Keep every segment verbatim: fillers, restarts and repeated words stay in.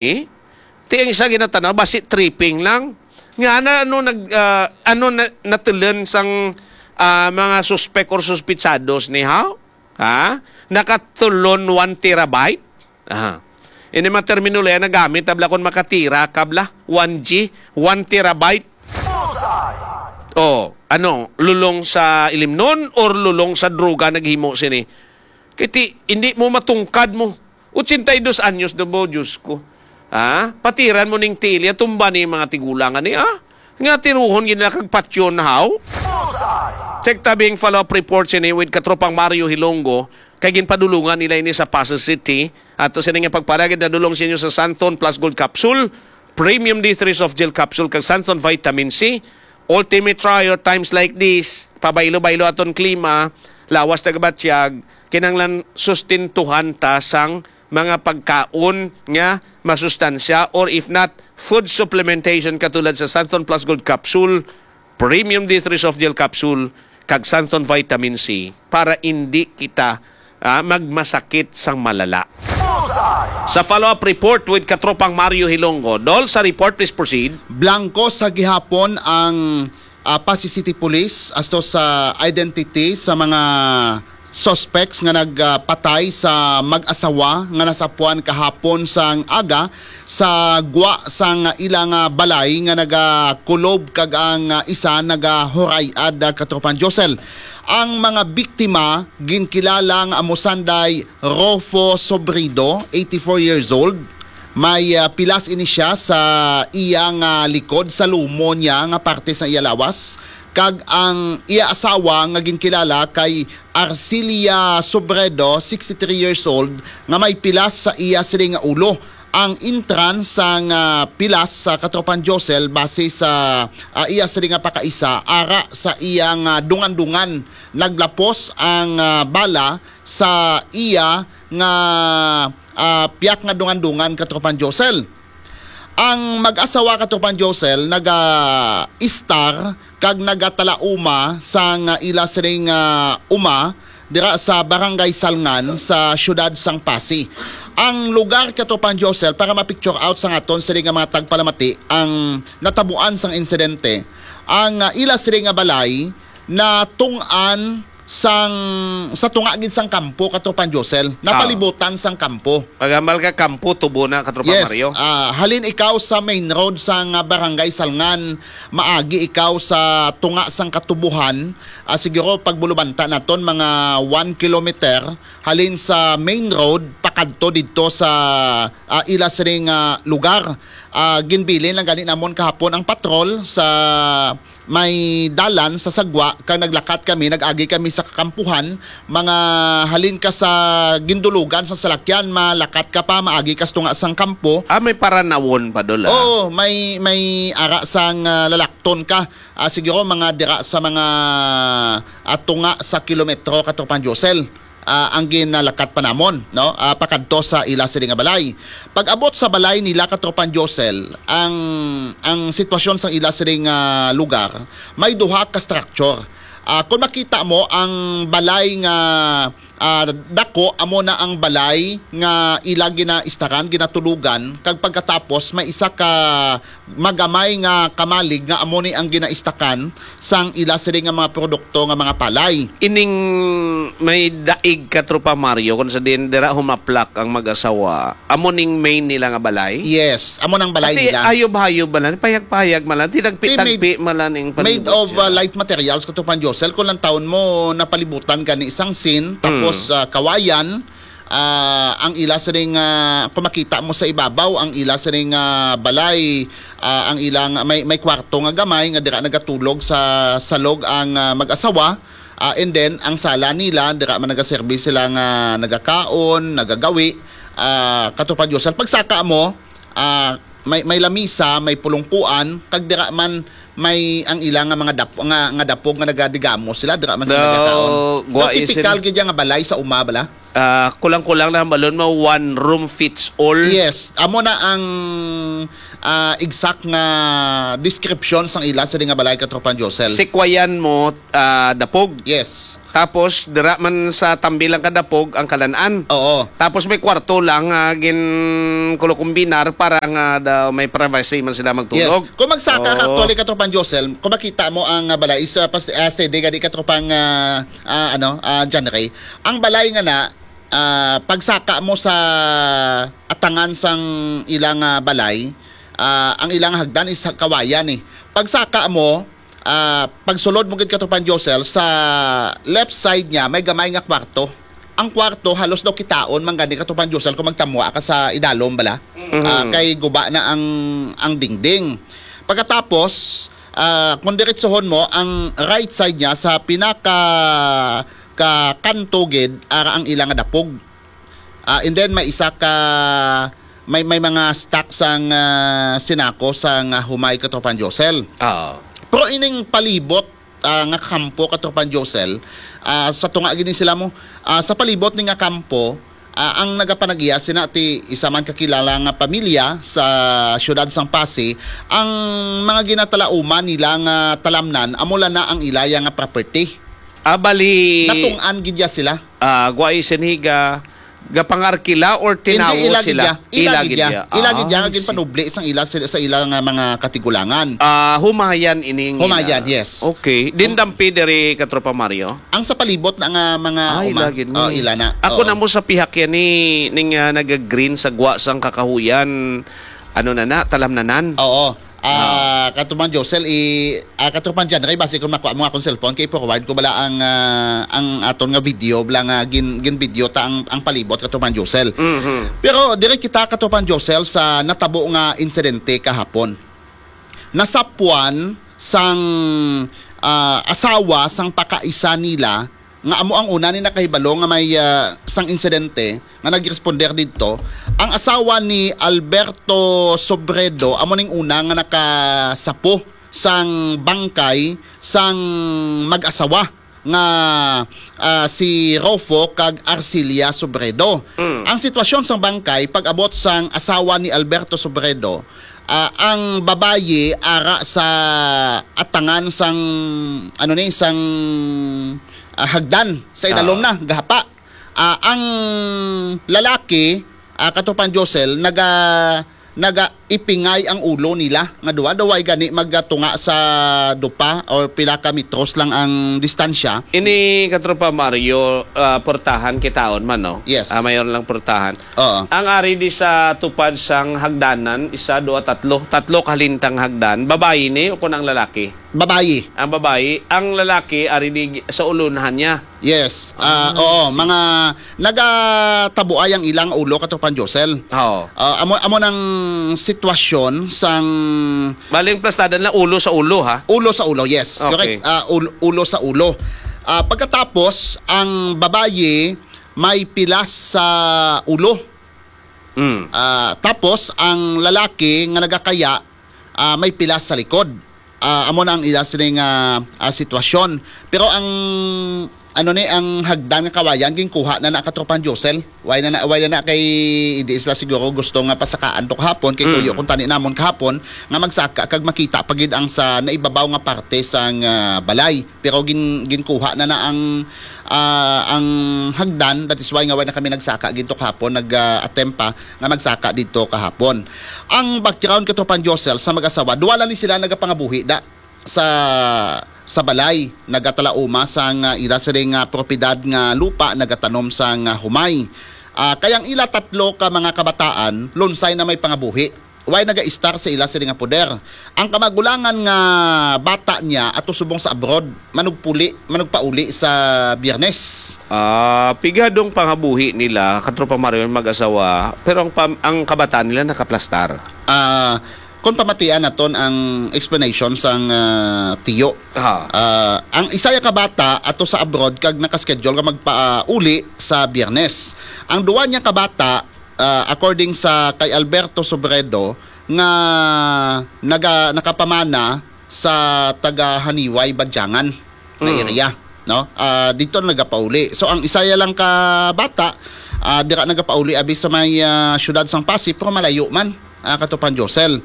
Eh? Ti ang isa ginatanaw, basi tripping lang. Nga na, ano, nag, ah, ano na, natulan sang, ah, mga suspek or suspitsados ni how? Ha? Nakatulon one terabyte? Aha. Ini mga terminolohiya nagamit, tabla, kon makatira, kabla, one G, one terabyte. Oh, ano, lulong sa ilimnon or lulong sa droga naghimo sini? Kay ti, hindi mo matungkad mo. Ochenta y dos anyos na mo, Diyos ko. Ha? Patiran mo ning tilya, tumba ni mga tigulang ani, ah? Nga tiruhon gid na kag patyon, how? Check tabing follow-up report sini with Katropang Mario Hilonggo, kay ginpadulungan nila ini sa Pasay City. Ato sini nga pagpalagid na dulong sa inyo sa Santon Plus Gold Capsule, Premium D three Soft Gel Capsule, kag Santon Vitamin C. Ultimate Trio, times like this, pabaylo-baylo aton klima, lawas tagabatyag, kinahanglan sustentuhan ta sang mga pagkaon nga masustansya, or if not, food supplementation katulad sa Santon Plus Gold Capsule, Premium D three Soft Gel Capsule, kag Santon Vitamin C para indi kita, ah, magmasakit sang malala. Sa follow-up report with Katropang Mario Hilonggo. Dol, sa report, please proceed. Blanco sa gihapon ang, ah, Pasay City Police asto sa identity sa mga suspects nga nagpatay sa mag-asawa nga nasapuan kahapon sang aga sa gwa sang ila nga balay nga nagakulob kag ang, ah, isa nagahuray-ad, ah, Katropang Josel. Ang mga biktima ginkilala nga amo sanday Rofo Sobrido, eighty-four years old. May, ah, pilas ini siya sa iya nga likod, sa lumo niya nga parte sa iya lawas. Kag ang iya asawa nga ginkilala kay Arcilia Sobredo, sixty-three years old, nga may pilas sa iya sini nga ulo. Ang entrance sang, ah, pilas sa Katropang Josel, base sa, ah, iya sini nga pakaisa, ara sa iya nga dungan-dungan. Naglapos ang, ah, bala sa iya nga, ah, piyak nga dungan-dungan, Katropang Josel. Ang mag-asawa, Katropang Josel, naga-istar kag nagatalauma sang ila sining, ah, uma dira sa Barangay Salngan sa siyudad sang Pasay. Ang lugar, Katropang Josel, para ma-picture out sa aton sini nga mga tagpalamati ang natabuan sang insidente, ang, ah, ila sini nga balay natunggan sang, sa tunga gid sang kampo, Katropang Josel. Ah. Napalibutan sang kampo. Pagambal ka kampo, tubo na, Katropang Yes, Mario. Ah, halin ikaw sa main road sang, ah, Barangay Salngan, maagi ikaw sa tunga sang katubuhan, ah, siguro pagbulubanta naton mga one kilometer halin sa main road pakadto didto sa, ah, ila sining, ah, lugar. Ah, ginbilin lang gani namon kahapon ang patrol sa may dalan sa sagwa, kag naglakat kami, nag-agi kami sa kakampuhan, mga halin ka sa gindulugan sa salakyan, malakat ka pa, maagi ka sa tunga sang kampo. Ah, may paranawon pa, Dol, ah. Oo, may, may ara sang, ah, lalakton ka. Ah, siguro mga dira sa mga, ah, tunga sa kilometro, Katropang Josel, ah, ang ginalakat pa namon, no? Ah, pakadto sa ila sini nga balay. Pag-abot sa balay nila, Katropang Josel, ang, ang sitwasyon sa ila sini nga lugar, may duha ka structure. Ah, kung makita mo, ang balay nga, ah, dako, amo na ang balay nga ila ginaistaran, ginatulugan, kag pagkatapos may isa ka magamay nga kamalig nga amo ni ang ginaistakan sang ila sini nga mga produkto nga mga palay. Ining may daig, Katropang Mario, kung sa diin dira humaplak ang mag-asawa, amo ning main nila nga balay? Yes, amo nang balay Ati, nila. Ayob-hayob man lang, payag-payag man lang, tinagpi-tagpi Ti made, man lang ning made palibot of, siya. Uh, light materials, Katropang Josel, kung lang taon mo napalibutan gani isang sin, tapos, Mm. ah, kawayan, ah, ang ila sining, ah, kung makita mo sa ibabaw, ang ila sining, ah, balay, ah, ang ilang may, may kwarto nga gamay nga dira nagatulog sa salog ang, ah, mag-asawa. Ah, and then ang sala nila, dira man nagaserbi sila nga nagakaon, nagagawi, ah, Katropang Josel. Pagsaka mo, ah, may, may lamisa, may pulungkuan, kag dira man may ang ila nga mga dap-, nga, nga dapog nga nagadigamo sila, dira man sila Daw, nagakaon. Daw gwa typical isin- gid nga balay sa uma bala. Ah, kulang-kulang na hambalon mo, one room fits all. Yes, amo na ang, ah, exact nga description sang ila sa di nga balay, Katropang Josel. Sikwayan mo, ah, dapog. Yes. Tapos, dira man sa tambi lang kadapog ang kalan-an. Oo. Tapos may kwarto lang nga ginkulukumbinar para nga daw may privacy man sila magtulog. Yes. Kung magsaka ka, Oo. actually, Katropang Josel, kung makita mo ang, ah, balay, is, ah, pas-, ah, steady gani, Katropang, ah, ah, ano, ah, John Ray. Ang balay nga na, ah, pagsaka mo sa atangan sang ilang, ah, balay, ah, ang ilang hagdan is kawayan, eh. Pagsaka mo, ah, pagsulod mo gid, Katropang Josel, sa left side niya, may gamay nga kwarto. Ang kwarto, halos daw kitaon man gani, Katropang Josel, kung magtamwa ka sa idalom bala. Mhm. Ah, kay guba na ang, ang dingding. Pagkatapos, ah, kung diretsohon mo, ang right side niya, sa pinaka ka kanto gid, ara ang ila nga dapog. Ah, and then may isa ka, may, may mga stock sang, ah, sinako sang, ah, humay, Katropang Josel. Oo. Pero ining palibot, ah, nga kampo, Katropang Josel, ah, sa tunga gid ni sila mo, ah, sa palibot ni nga kampo, ah, ang nagapanag-iya sina ti isa man kakilala nga pamilya sa siyudad sang Passi, ang mga ginatalauman nila nga talamnan, amo lang na ang ilaya nga property. Ah, bali, Natung'an gid ya sila. ah, guway siniga, gapangarkila or Hindi, tinawo ila gid sila? ya. Ila Ila gid gid ya. ya. Ila gid ya Ah, nga I see. ginpanubli sang ila sa, sa ila nga mga katigulangan. Ah, humayan ining Humayan, ila. yes. Okay. Din Hum- dampi diri, Katropa Mario? Ang sa palibot na nga mga Ay, uma. lagi ni. Oh, ila na. Ako Oo. na mo sa pihak yan ni, ning, ah, nag-green sa gwa sang kakahuyan. Ano na na? Talamnanan. Oo. Ah, Ah. Katropang Josel, i, ah, Katropang John Ray, basi kung makuha mo nga akong cellphone, kay forward ko bala ang, ah, ang aton nga video, bala nga gin, gin video ta ang, ang palibot, Katropang Josel. Mhm. Pero dire kita, Katropang Josel, sa natabo nga insidente kahapon. Nasapwan sang, ah, asawa sang pakaisa nila nga amo ang una ni nakahibalo nga may, ah, sang insidente nga nagresponder didto, ang asawa ni Alberto Sobredo amo ning una nga nakasapo sang bangkay sang mag-asawa nga, ah, si Rofo kag Arcilia Sobredo. Mm. Ang sitwasyon sang bangkay, pag-abot sang asawa ni Alberto Sobredo, ah, ang babayi ara sa atangan sang, ano ni, sang, ah, hagdan sa idalom Ah. na, gahapa. Ah, ang lalaki, ah, Katropang Josel, naga-, naga-ipingay ang ulo nila nga duha, daw way gani magtunga sa dupa or pila ka metros lang ang distansya. Ini, Katropa Mario, ah, portahan kitaon man, no? Yes. Ah, mayor lang portahan. Oo. Ang ari di sa tupad sang hagdanan, isa, duha, tatlo. Tatlo ka halintang hagdan. Babayi ni o kun ang lalaki? Babayi. Ang babayi, ang lalaki ari di sa ulunahan niya. Yes. Ah, Ah, oo, I see. mga nagatabuay ang ilang ulo, Katropang Josel. Oo. Ah, amo, amo nang sitwasyon sang Baling plastadan lang ulo sa ulo, ha? Ulo sa ulo, yes. Okay. Correct. Ah, ul-, ulo sa ulo. Ah, pagkatapos, ang babayi may pilas sa ulo. Mm. Ah, tapos, ang lalaki nga nagakaya, ah, may pilas sa likod. Ah, amo na ang ila sini nga, ah, sitwasyon. Pero ang, ano ni, ang hagdan nga kawayan, ginkuha na na, Katropang Josel. Way na na, way na na kay hindi sila siguro gusto nga pasakaan to kahapon, kay Mm. tuyo kung tani namon kahapon, nga magsaka kag makita pa gid ang sa naibabaw nga parte sang, ah, balay. Pero gin-, ginkuha na na ang, ah, ang hagdan. That is why nga wala na kami nagsaka gid to kahapon, nag, ah, attempt pa nga magsaka didto kahapon. Ang background, Katropang Josel, sa mag-asawa, duha lang ni sila nagapangabuhi da sa, sa balay, nagatalauma sang, ah, ila sining, ah, propiedad nga lupa, nagatanom sang, ah, humay. Ah, kay ang ila tatlo ka mga kabataan, lunsay na may pangabuhi. Way nagaistar sa ila sini nga poder. Ang kamagulangan nga bata niya ato subong sa abroad, manugpuli, manugpauli sa Biyernes. Ah, pigadong pangabuhi nila, Katropa Mario, mag-asawa, pero ang pam-, ang kabataan nila nakaplastar. Ah, kung pamatian naton ang explanation sang, ah, tiyo. Ha. Ah, ang isa ya ka bata ato sa abroad kag naka-schedule nga magpauli sa Biyernes. Ang duwa niya ka bata, ah, according sa kay Alberto Sobredo, nga naga-, nakapamana sa taga Haniway, Badyangan na Mm. area, no? Ah, dito na nagapauli. So, ang isaya lang ka bata, ah, dira nagapauli abi sa may, ah, siyudad sang Passi, pero malayo man, ah, Katropang Josel.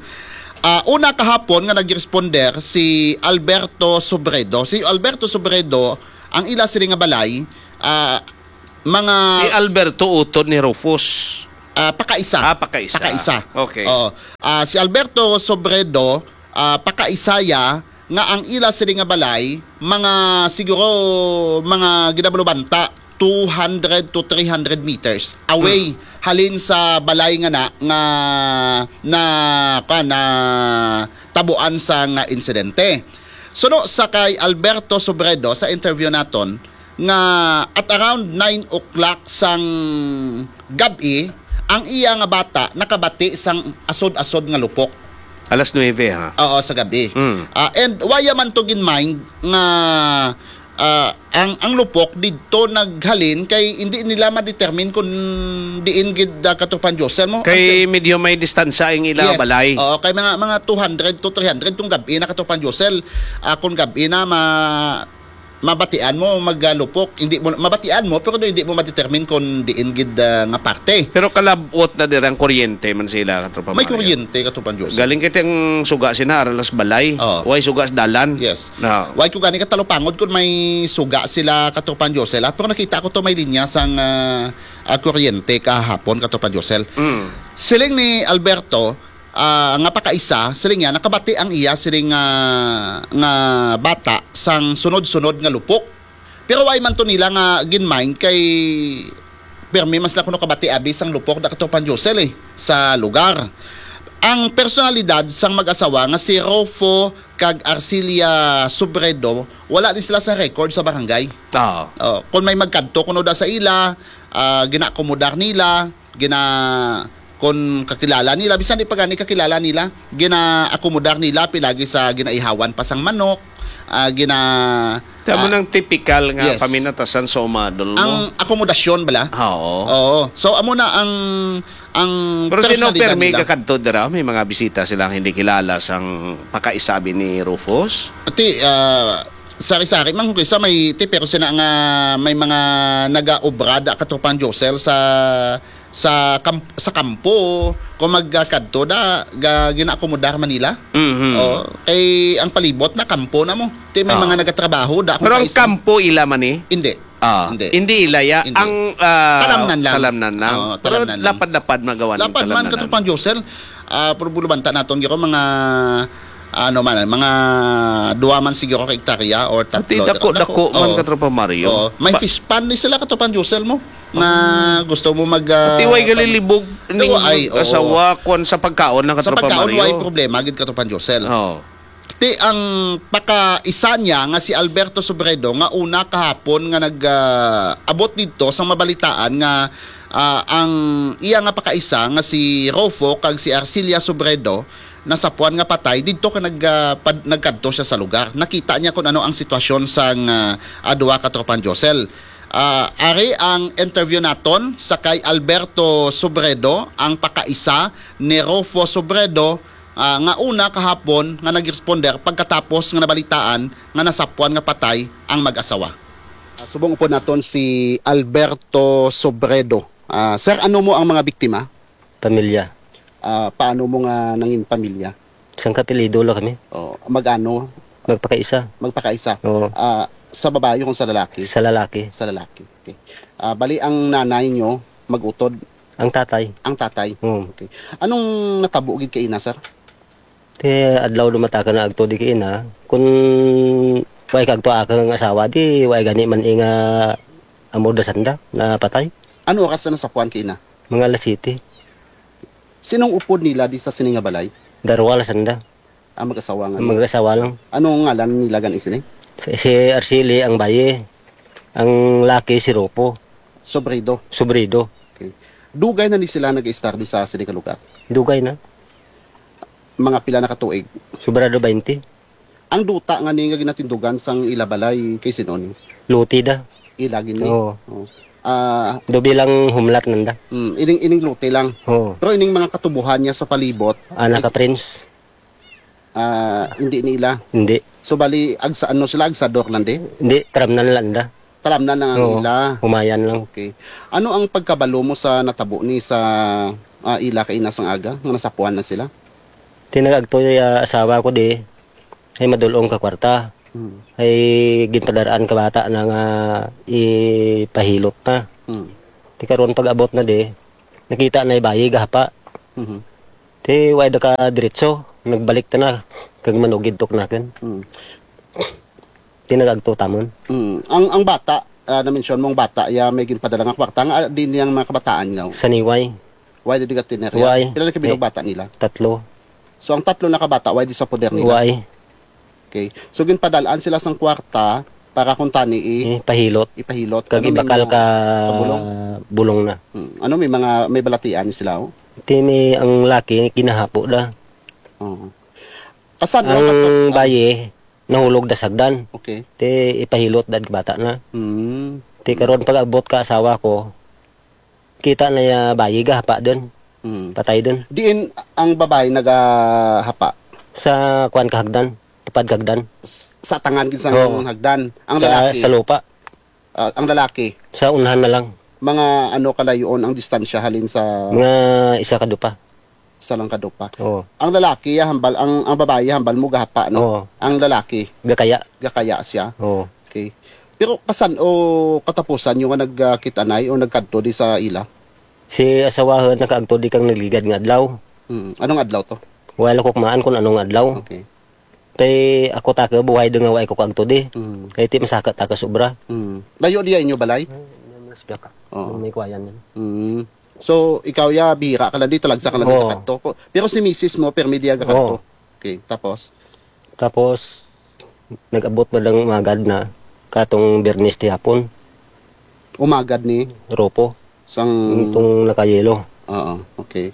Ah, una kahapon nga nagresponder si Alberto Sobredo. Si Alberto Sobredo, ang ila sini nga balay, ah, mga Si Alberto utod ni Rufus. Ah, pakaisa. Ah, pakaisa. Pakaisa. Okay. Oo. Ah, si Alberto Sobredo, ah, pakaisa ya nga ang ila sini nga balay, mga, siguro, mga ginabalubanta, two hundred to three hundred meters away Hmm. halin sa balay nga na, nga, na, kuwan, na tabuan sa nga insidente. Suno sa kay Alberto Sobredo, sa interview naton, nga at around nine o'clock sang gab-i, ang iya nga bata nakabati sang asod-asod nga lupok. Alas nuebe, ha? Oo, sa gab-i. Mm. Ah, and why man to gin-mind nga, ah, ang, ang lupok didto naghalin kay hindi nila ma-determine kung diin gid, ah, Katropang Josel mo. Kay Ang medyo may distansya ang ila Yes. balay. Oo, kay mga, mga two hundred to three hundred kung gab-i na, Katropang Josel. Ah, kung gab-i na, ma-, mabatian mo magalupok, hindi mo mabatian mo, pero hindi mo ma-determine kung diin gid, ah, nga parte. Pero kalabot na dira ang kuryente man sila, Katropa May Mario. kuryente, Katropang Joseph. Galing kay ang suga sina aralas balay. Oo. Way suga sa dalan. Yes. Na. Way ko gani katalupangod kung may suga sila, Katropang Joseph, ah. Pero nakita ko to may linya sang, ah, ah, kuryente kahapon, Katropang Joseph. Mm. Siling ni Alberto, ah, nga pakaisa, siling niya, nakabati ang iya siling nga, nga bata sang sunod-sunod nga lupok. Pero way man to nila nga gin-mind kay pirmi mas na kuno kabati abi sang lupok da Katropang Josel, eh, sa lugar. Ang personalidad sang mag-asawa nga si Rofo kag Arcilia Sobredo, wala ni sila sa record sa barangay. Oo. Oh, kung may magkadto kuno da sa ila, ah, ginaakomodar nila, gina-, kon kakilala nila, bisan di pa gani kakilala nila, ginaakomodar nila, pilagi sa ginaihawan pa sang manok, ah, gina-, Tamo ah, nang tipikal nga yes. paminatasan sa umadol mo. Ang akomodasyon bala? Ah, oo. Oo. So, amo na ang, ang Pero sino personalidad permi nila. kakadto dira? May mga bisita silang hindi kilala sang pakaisabi ni Rufus? Ati, ah, sari-sari man kung isa may ti, pero sina nga may mga nagaobra da Katropang Josel sa sa kam-, sa kampo, kung magkadto da, ga-, ginaakomodar man nila. Mhm. Oh, kay ang palibot na kampo na mo. Ti may Ah. mga nagatrabaho da, kung Pero ang kaisa. kampo ila man eh? Hindi. Ah, Hindi. hindi ila ya. Hindi. Ang, ah, Talamnan lang. talamnan lang. Oo, Pero talamnan lang. lapad-lapad magawa ng Lapad man, talamnan. Katropang Josel. Ah, pero bulubanta naton, giro, mga, ano man, mga duwa man siguro ka hektarya or Pati tatlo. dako-dako Dako. man, Oo. Katropang Mario. Oo. May Pa- fish pond ni sila, Katropang Josel mo. Nga Ah. gusto mo mag, ah, Pati way pag- galilibog ning Ay, oo. asawa, kwan sa pagkaon na, Sa Katropang pagkaon, Mario. way problema, gid, Katropang Josel. Oo. Ti ang pakaisa niya nga si Alberto Sobredo nga una kahapon nga nag, ah, abot didto sang mabalitaan nga, ah, ang iya nga pakaisa nga si Rofo kag si Arcilia Sobredo nasapuan nga patay didto ka nag, ah, pad-, nagkadto siya sa lugar. Nakita niya kung ano ang sitwasyon sang, ah, ah, duha ka tropang Josel. Ah, ari ang interview naton sa kay Alberto Sobredo, ang pakaisa ni Rofo Sobredo, ah, nga una kahapon nga nag-responder pagkatapos nga nabalitaan nga nasapuan nga patay ang mag-asawa. Ah, subong upod naton si Alberto Sobredo. Ah, sir, ano mo ang mga biktima? Pamilya. Ah, paano mo nga nangin pamilya? Sang kapilido lang kami. Oh, mag-ano? Magpakaisa. Magpakaisa. Oo. Ah, sa babae kung sa lalaki? Sa lalaki. Sa lalaki. Okay. Ah, bali ang nanay nyo mag-utod? Ang tatay. Ang tatay. Oo. Okay. Anong natabo gid kay ina, sir? Ti adlaw dumataka na agto di kay ina. Kun way kagto akang asawa, di way gani man inga amor da sanda napatay. Ano oras na nasapuan kay ina? Mga alas siyete. Sinong upod nila di sa sini nga balay? Darwa la sanda. Ah, mag-asawa nga. Mag-asawa lang. Anong ngalan nila gani sini? Si, si Arceli ang baye. Ang laki si Ropo. Sobredo. Sobredo. Okay. Dugay na ni sila nag-istar di sa sini nga lugar? Dugay na. Mga pila na ka tuig? Sobrado baynte. Ang duta nga ni nga ginatindugan sang ila balay kay sino ni? Luti da. Ila gini? Oo. Oo. Ah, Dobi lang humlat nanda. Mm, ining, ining luti lang. Oo. Pero ining mga katubuhan niya sa palibot, Ah, naka-prince. Ah, hindi nila. Hindi. So, bali, agsa, ano sila, agsador nandi? Hindi, talamnan lang da. Talamnan lang ang Oo, ila. Humayan lang. Okay. Ano ang pagkabalo mo sa natabo ni sa, ah, ila kay ina sang aga nga nasapuan na sila? Tinagagto ya asawa ko di, ay madulong ka kwarta. Mm. Ay ginpadaraan ka bata na nga ipahilot na. Mm. Ti karon pag-abot na di, nakita na ibayi gahapa. Mhm. Ti way da ka diretso, nagbalik ta na kag manugid tok nakin. Mm. Ti nagagto tamon. Mm. Ang, ang bata, ah, na-mention mong bata, ya may ginpadala nga kwarta, nga di niyang mga kabataan nga. Sa niway. Way di ka tinerya? Way. Pila na kabilog Eh, bata nila? Tatlo. So, ang tatlo na ka bata, way di sa poder nila? Way. Okay. So, ginpadalaan sila sang kwarta para kung tani i-, Eh, pahilot. Ipahilot. Kag Ano, may ibakal mga ka kabulong? Bulong na. Hmm. Ano, may mga, may balatian sila, oh? Ti may ang laki, kinahapo da. Oo. Kasan, Ang oh, bayi, nahulog da sagdan. Okay. Ti ipahilot dad bata na. Hmm. Ti karon pag-abot ka asawa ko, kita na ya bayi gahapa dun. Mm. Patay dun. Diin ang babae nagahapa? Sa kuwan ka hagdan, tapad ka hagdan. S-, sa tangan gid sang Oo. hagdan. Ang Sa, lalaki? sa lupa. Ah, ang lalaki? Sa unahan na lang. Mga ano kalayoon ang distansya halin sa Mga isa ka dupa. Sa lang ka dupa? Oo. Ang lalaki, ya, hambal, ang, ang babae, hambal mo gahapa, no? Oo. Ang lalaki? Gakaya. Gakaya siya? Oo. Okay. Pero kasan o katapusan yung nga nagkita na o nagkadto di sa ila? Si asawahan nakaagto di kang nagligad nga adlaw. Mm. Anong adlaw to? Wala ko kumaan kung anong adlaw. Okay. Kay ako taka buhay doon nga wala ko kaagto di. Mm. Kay ti masaka taka sobra. Mm. Layo diya inyo balay? Ay, mas baka. Oo. May kuwayan yan. Mm. So, ikaw ya, bihira ka lang di, talagsa ka lang di Oo. kakadto. Ko-, pero si misis mo, permi diya kakadto. Oo. Okay, tapos? Tapos, nag-abot man lang umagad na katong Biyernes ti hapon. Umagad ni? Ropo. Sang Itong nakayelo. Oo, okay.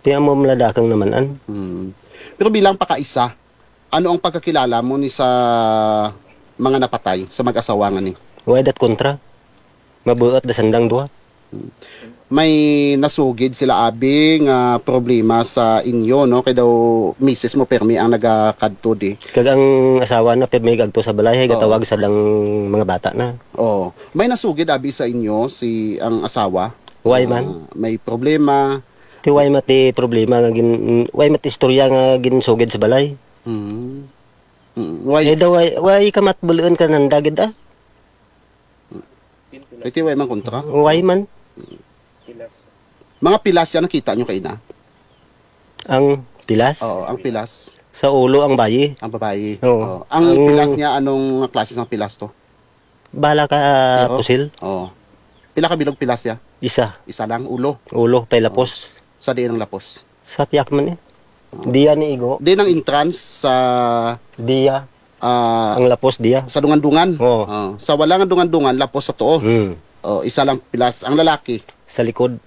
Ti amo man lang dakang naman-an. Hmm. Pero bilang pakaisa, ano ang pagkakilala mo ni sa mga napatay, sa mag-asawa nga ni? Way dat kontra. Mabuot da sandang duha. Hmm. May nasugid sila, abi, nga problema sa inyo, no? Kay daw misis mo permi ang nagakadto di. Kag ang asawa na permi gagto sa balay, hay Oo. gatawag sa dang mga bata na. Oo. May nasugid, abi, sa inyo si ang asawa? Way man. Ah, may problema. Ti way mati problema nga gin-, way mati istorya nga ginsugid sa balay. Mm. Mm. Way. Eh, daw, way, way ka matbuluan ka nanda gid, ah. Iti way man kontra? Way man. Mga pilas yan nakita nyo kaina? Ang pilas? Oo, ang pilas. Sa ulo ang bayi. Ang babayi. Oo. Oo. Ang Ang pilas niya, anong klase ng pilas to? Bala ka, Pero? pusil? Oo. Pila ka bilog pilas ya? Isa. Isa lang, ulo? Ulo, pay lapos. Sa diin ang lapos? Sa piyak man eh. Oo. Diya ni igo. Di nang entrance sa Diya. ah, Ang lapos diya. Sa dungan-dungan? Oo. Oo. Sa wala nga dungan-dungan, lapos sa tuo. Mm. Oh, isa lang pilas. Ang lalaki? Sa likod.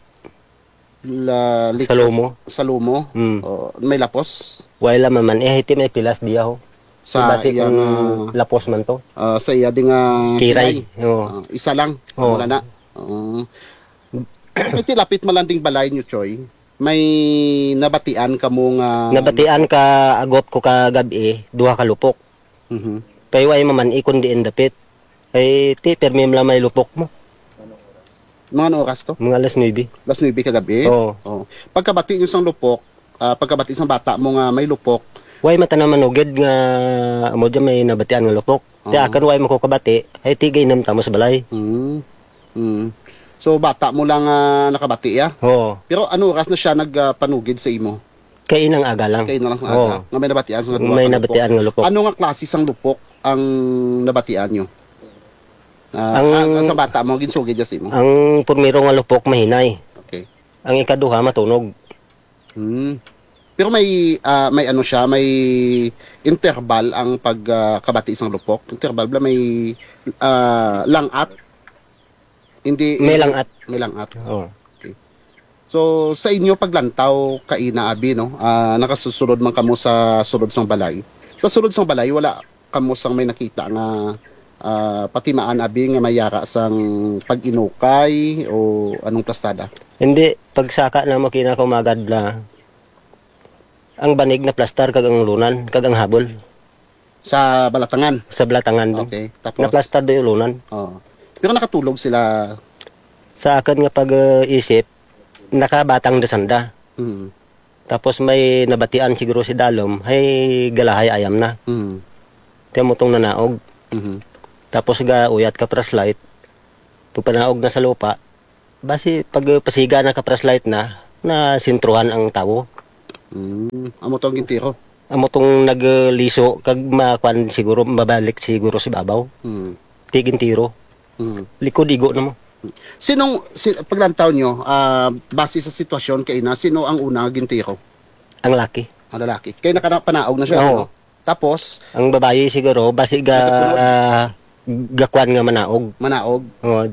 La-, lik-, Sa lomo. Sa lomo? Mm. Oh, may lapos? Wala man man. Eh, iti may pilas diya ho. Sa Basi iya kung nga, lapos man to. ah, sa iya di nga Kiray. kilay. Oo. Ah, isa lang. Oo. Wala na. Oo. Iti lapit malanding balay niyo, Choy. May nabatian kamo nga Nabatian ka agot ko ka gab-i, duha ka lupok. Mhm. Kay way maman-i kon diin dapit. Kay ti, pirmi lang may lupok mo. Mga ano oras to? Mga alas nuebe. Alas nuebe kagabi? Oo. Oo. Pagkabati nyo sang lupok, ah, pagkabati sang bata mo nga may lupok. Way mata na manugid nga amo dyan may nabatian nga lupok. Ti Oo. akin way mo ko kabati, ay ti gainom tamo sa balay. Mm. Mm. So, bata mo lang, ah, nakabati, ya? Oo. Pero ano oras na siya nagpanugid sa imo? Kay inang aga lang. Kay inang lang sa Oo. aga. Nga may nabatian sa nga duha May ka lupok. nabatian nga lupok. Ano nga klase sang lupok ang nabatian nyo? Ah, Ang ah, sa bata mo, ginsugid dyan sa imo? Ang primero nga lupok, mahinay. Okay. Ang ikaduha, matunog. Hmm. Pero may, ah, may ano siya, may interval ang pag, ah, kabati sang lupok. Interval ba may, ah, lang-at? Hindi, May hindi. lang-at. May lang-at. Oo. Okay. So, sa inyo paglantaw kaina, abi, no? Ah, nakasusulod man kamo sa sulod sang balay. Sa sulod sang balay, wala kamo sang may nakita nga, ah, patimaan, abi, nga may yara sang pag-inukay o anong plastada? Hindi, pagsaka na mo kina kumagad na ang banig na plastar kag ang lunan kag ang habol. Sa balatangan? Sa balatangan dun. Okay, tapos? Naplastar do yung lunan. Oo. Pero nakatulog sila? Sa akin nga pag-isip, nakabatang da sanda. Mm. Tapos may nabatian siguro si Dalom, hay galahay ayam na. Mm. Ti amo tong nanaog. Mhm. Tapos gauyat ka flashlight. Pagpanaog na sa lupa, basi pagpasiga na ka flashlight na, nasentruhan ang tawo. Mm. Amo to ang gintiro? Amo tong nagliso kag makuan siguro, mabalik siguro sa babaw. Mm. Ti gintiro. Mm. Likod igo na mo. Sinong, si, paglantaw nyo, ah, base sa sitwasyon kay ina, sino ang una nga gintiro? Ang laki. Ang lalaki. Kay nakapanaog na siya, Oo. ano? Tapos? Ang babayi siguro, basi ga, Nagkasunod? Gakuan nga manaog. Manaog? Oo.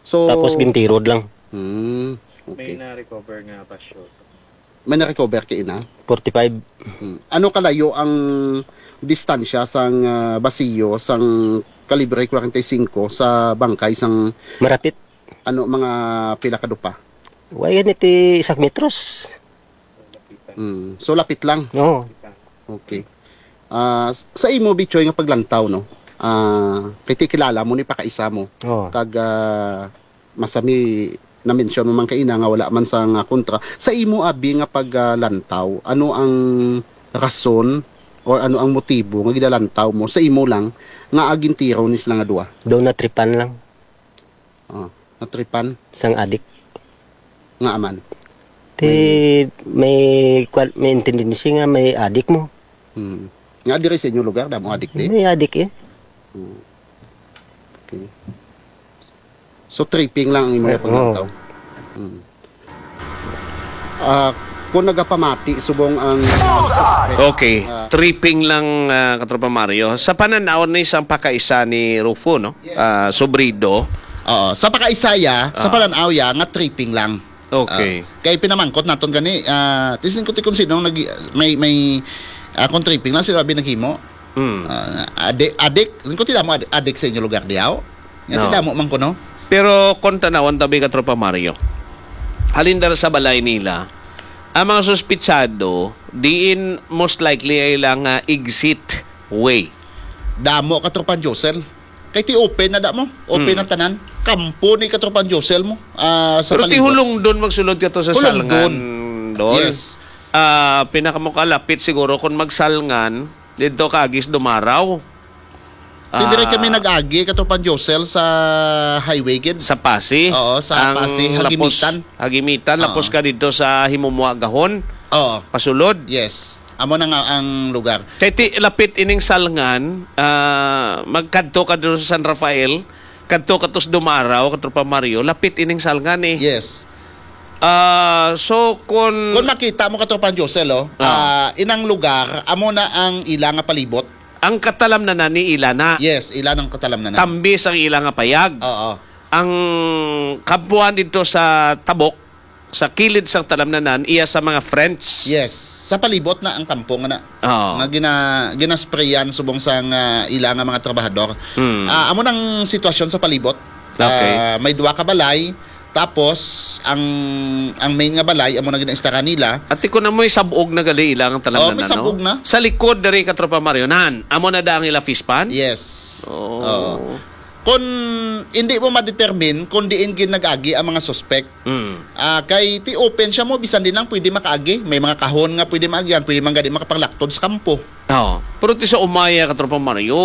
So, Tapos gintirod lang. Hmm, May okay. na-recover nga basyo sa May na-recover kay ina? Forty-five. Hmm. Ano kalayo ang distansya sang, ah, basiyo sang kalibre forty-five sa bangkay sang Marapit. Ano, mga pila ka dupa? Way gani ti isak metros. Mm. So, lapit lang. Oo. Okay. Ah, s-, sa imo, Bichoy, nga paglantaw, no? Ah, kay ti kilala mo ni pakaisa mo. Oo. Kag, ah, masami na-mention mo man kaina nga wala man sa nga kontra. Sa imo, abi, nga paglantaw, ano ang rason or ano ang motibo nga gidalantaw mo sa imo lang nga agintiro ni sila nga duha? Daw natripan lang. Oh, natripan? Sang adik. Nga aman? Ti may, may kwan, may intindi siya nga may adik mo. Hmm. Nga diri sa inyo lugar, damo adik di? May adik eh. Hmm. Okay. So, tripping lang ang imo Eh, nga paglantaw? Oo. Hmm. Ah, kung nagapamati subong ang Okay. Ah. Tripping lang, ah, Katropa Mario. Sa pananaw ni sang pakaisa ni Rufo, no? Yes. Ah, Sobrido. Oo. Sa pakaisa ya, sa Ah. pananaw ya, nga tripping lang. Okay. Ah, kay pinamangkot naton gani, ah, tisin ko ti kung sino ang nag-, may, may, ah, kung tripping lang, sino abi naghimo? Hmm. Ah, adi-, adik, kung ti damo adi-, adik sa inyo lugar diyaw? Nga No. ti damo man kuno? Pero kung tanawan tabi, Katropa Mario, halin dara sa balay nila, ang mga suspitsado, diin most likely ay lang, ah, exit way. Damo, Katropa Josel. Kay ti open na da mo. Open Hmm. ang tanan. Kampo ni Katropa Josel mo, ah, sa Pero ti palibot. Hulongdon magsulod ka to sa Hulongdon. Salngan, Dol. Yes. Ah, pinakamukalapit siguro kung magsalngan, dito ka agis Dumaraw. Ti dire Ah. kami nag-agi, Katropa Josel, sa highway gid. Sa Pasi? Oo, sa Ang Pasi, lapos, Hagimitan. Hagimitan, Oo. lapos ka dito sa Himumuha Gahon. Oo. Pasulod. Yes. Amo na nga ang lugar. Kay ti, lapit ining Salngan, ah, magkadto ka dito sa San Rafael, kadto ka to sa Dumaraw, Katropa Mario, lapit ining Salngan eh. Yes. Ah, so, kun Kung makita mo, Katropa Josel, oh, Ah. ah, inang lugar, amo na ang ila nga palibot. Ang katalamnanan ni ila na. Yes, ila nang katalamnanan. Tambis ang ila nga payag. Oo. Ang kampuhan dito sa Tabok, sa kilid sang talamnanan, iya sa mga French. Yes. Sa palibot na ang kampo nga na. Oo. Nga gina-, ginasprayan subong sang, ah, ila nga mga trabahador. Hmm. Ah, amo nang sitwasyon sa palibot. Okay. Ah, may duha ka balay, tapos ang, ang main nga balay, amo na ginaistara nila. Ati ko na mo'y sabog na gali ila ang talamnanan, Oh, may no? sabog na. Sa likod diri, Katropa Mario, nan, amo na da ang ila fish pond? Yes. Oh. Oo. Kung hindi mo ma-determine kung diin gid nag-agi ang mga suspect, Mm. ah, kay ti open siya mo, bisan din lang pwede makaagi. May mga kahon nga pwede maagian, pwede man gani makapanglaktod sa kampo. Oo. Pero ti sa umaya, Katropa Mario,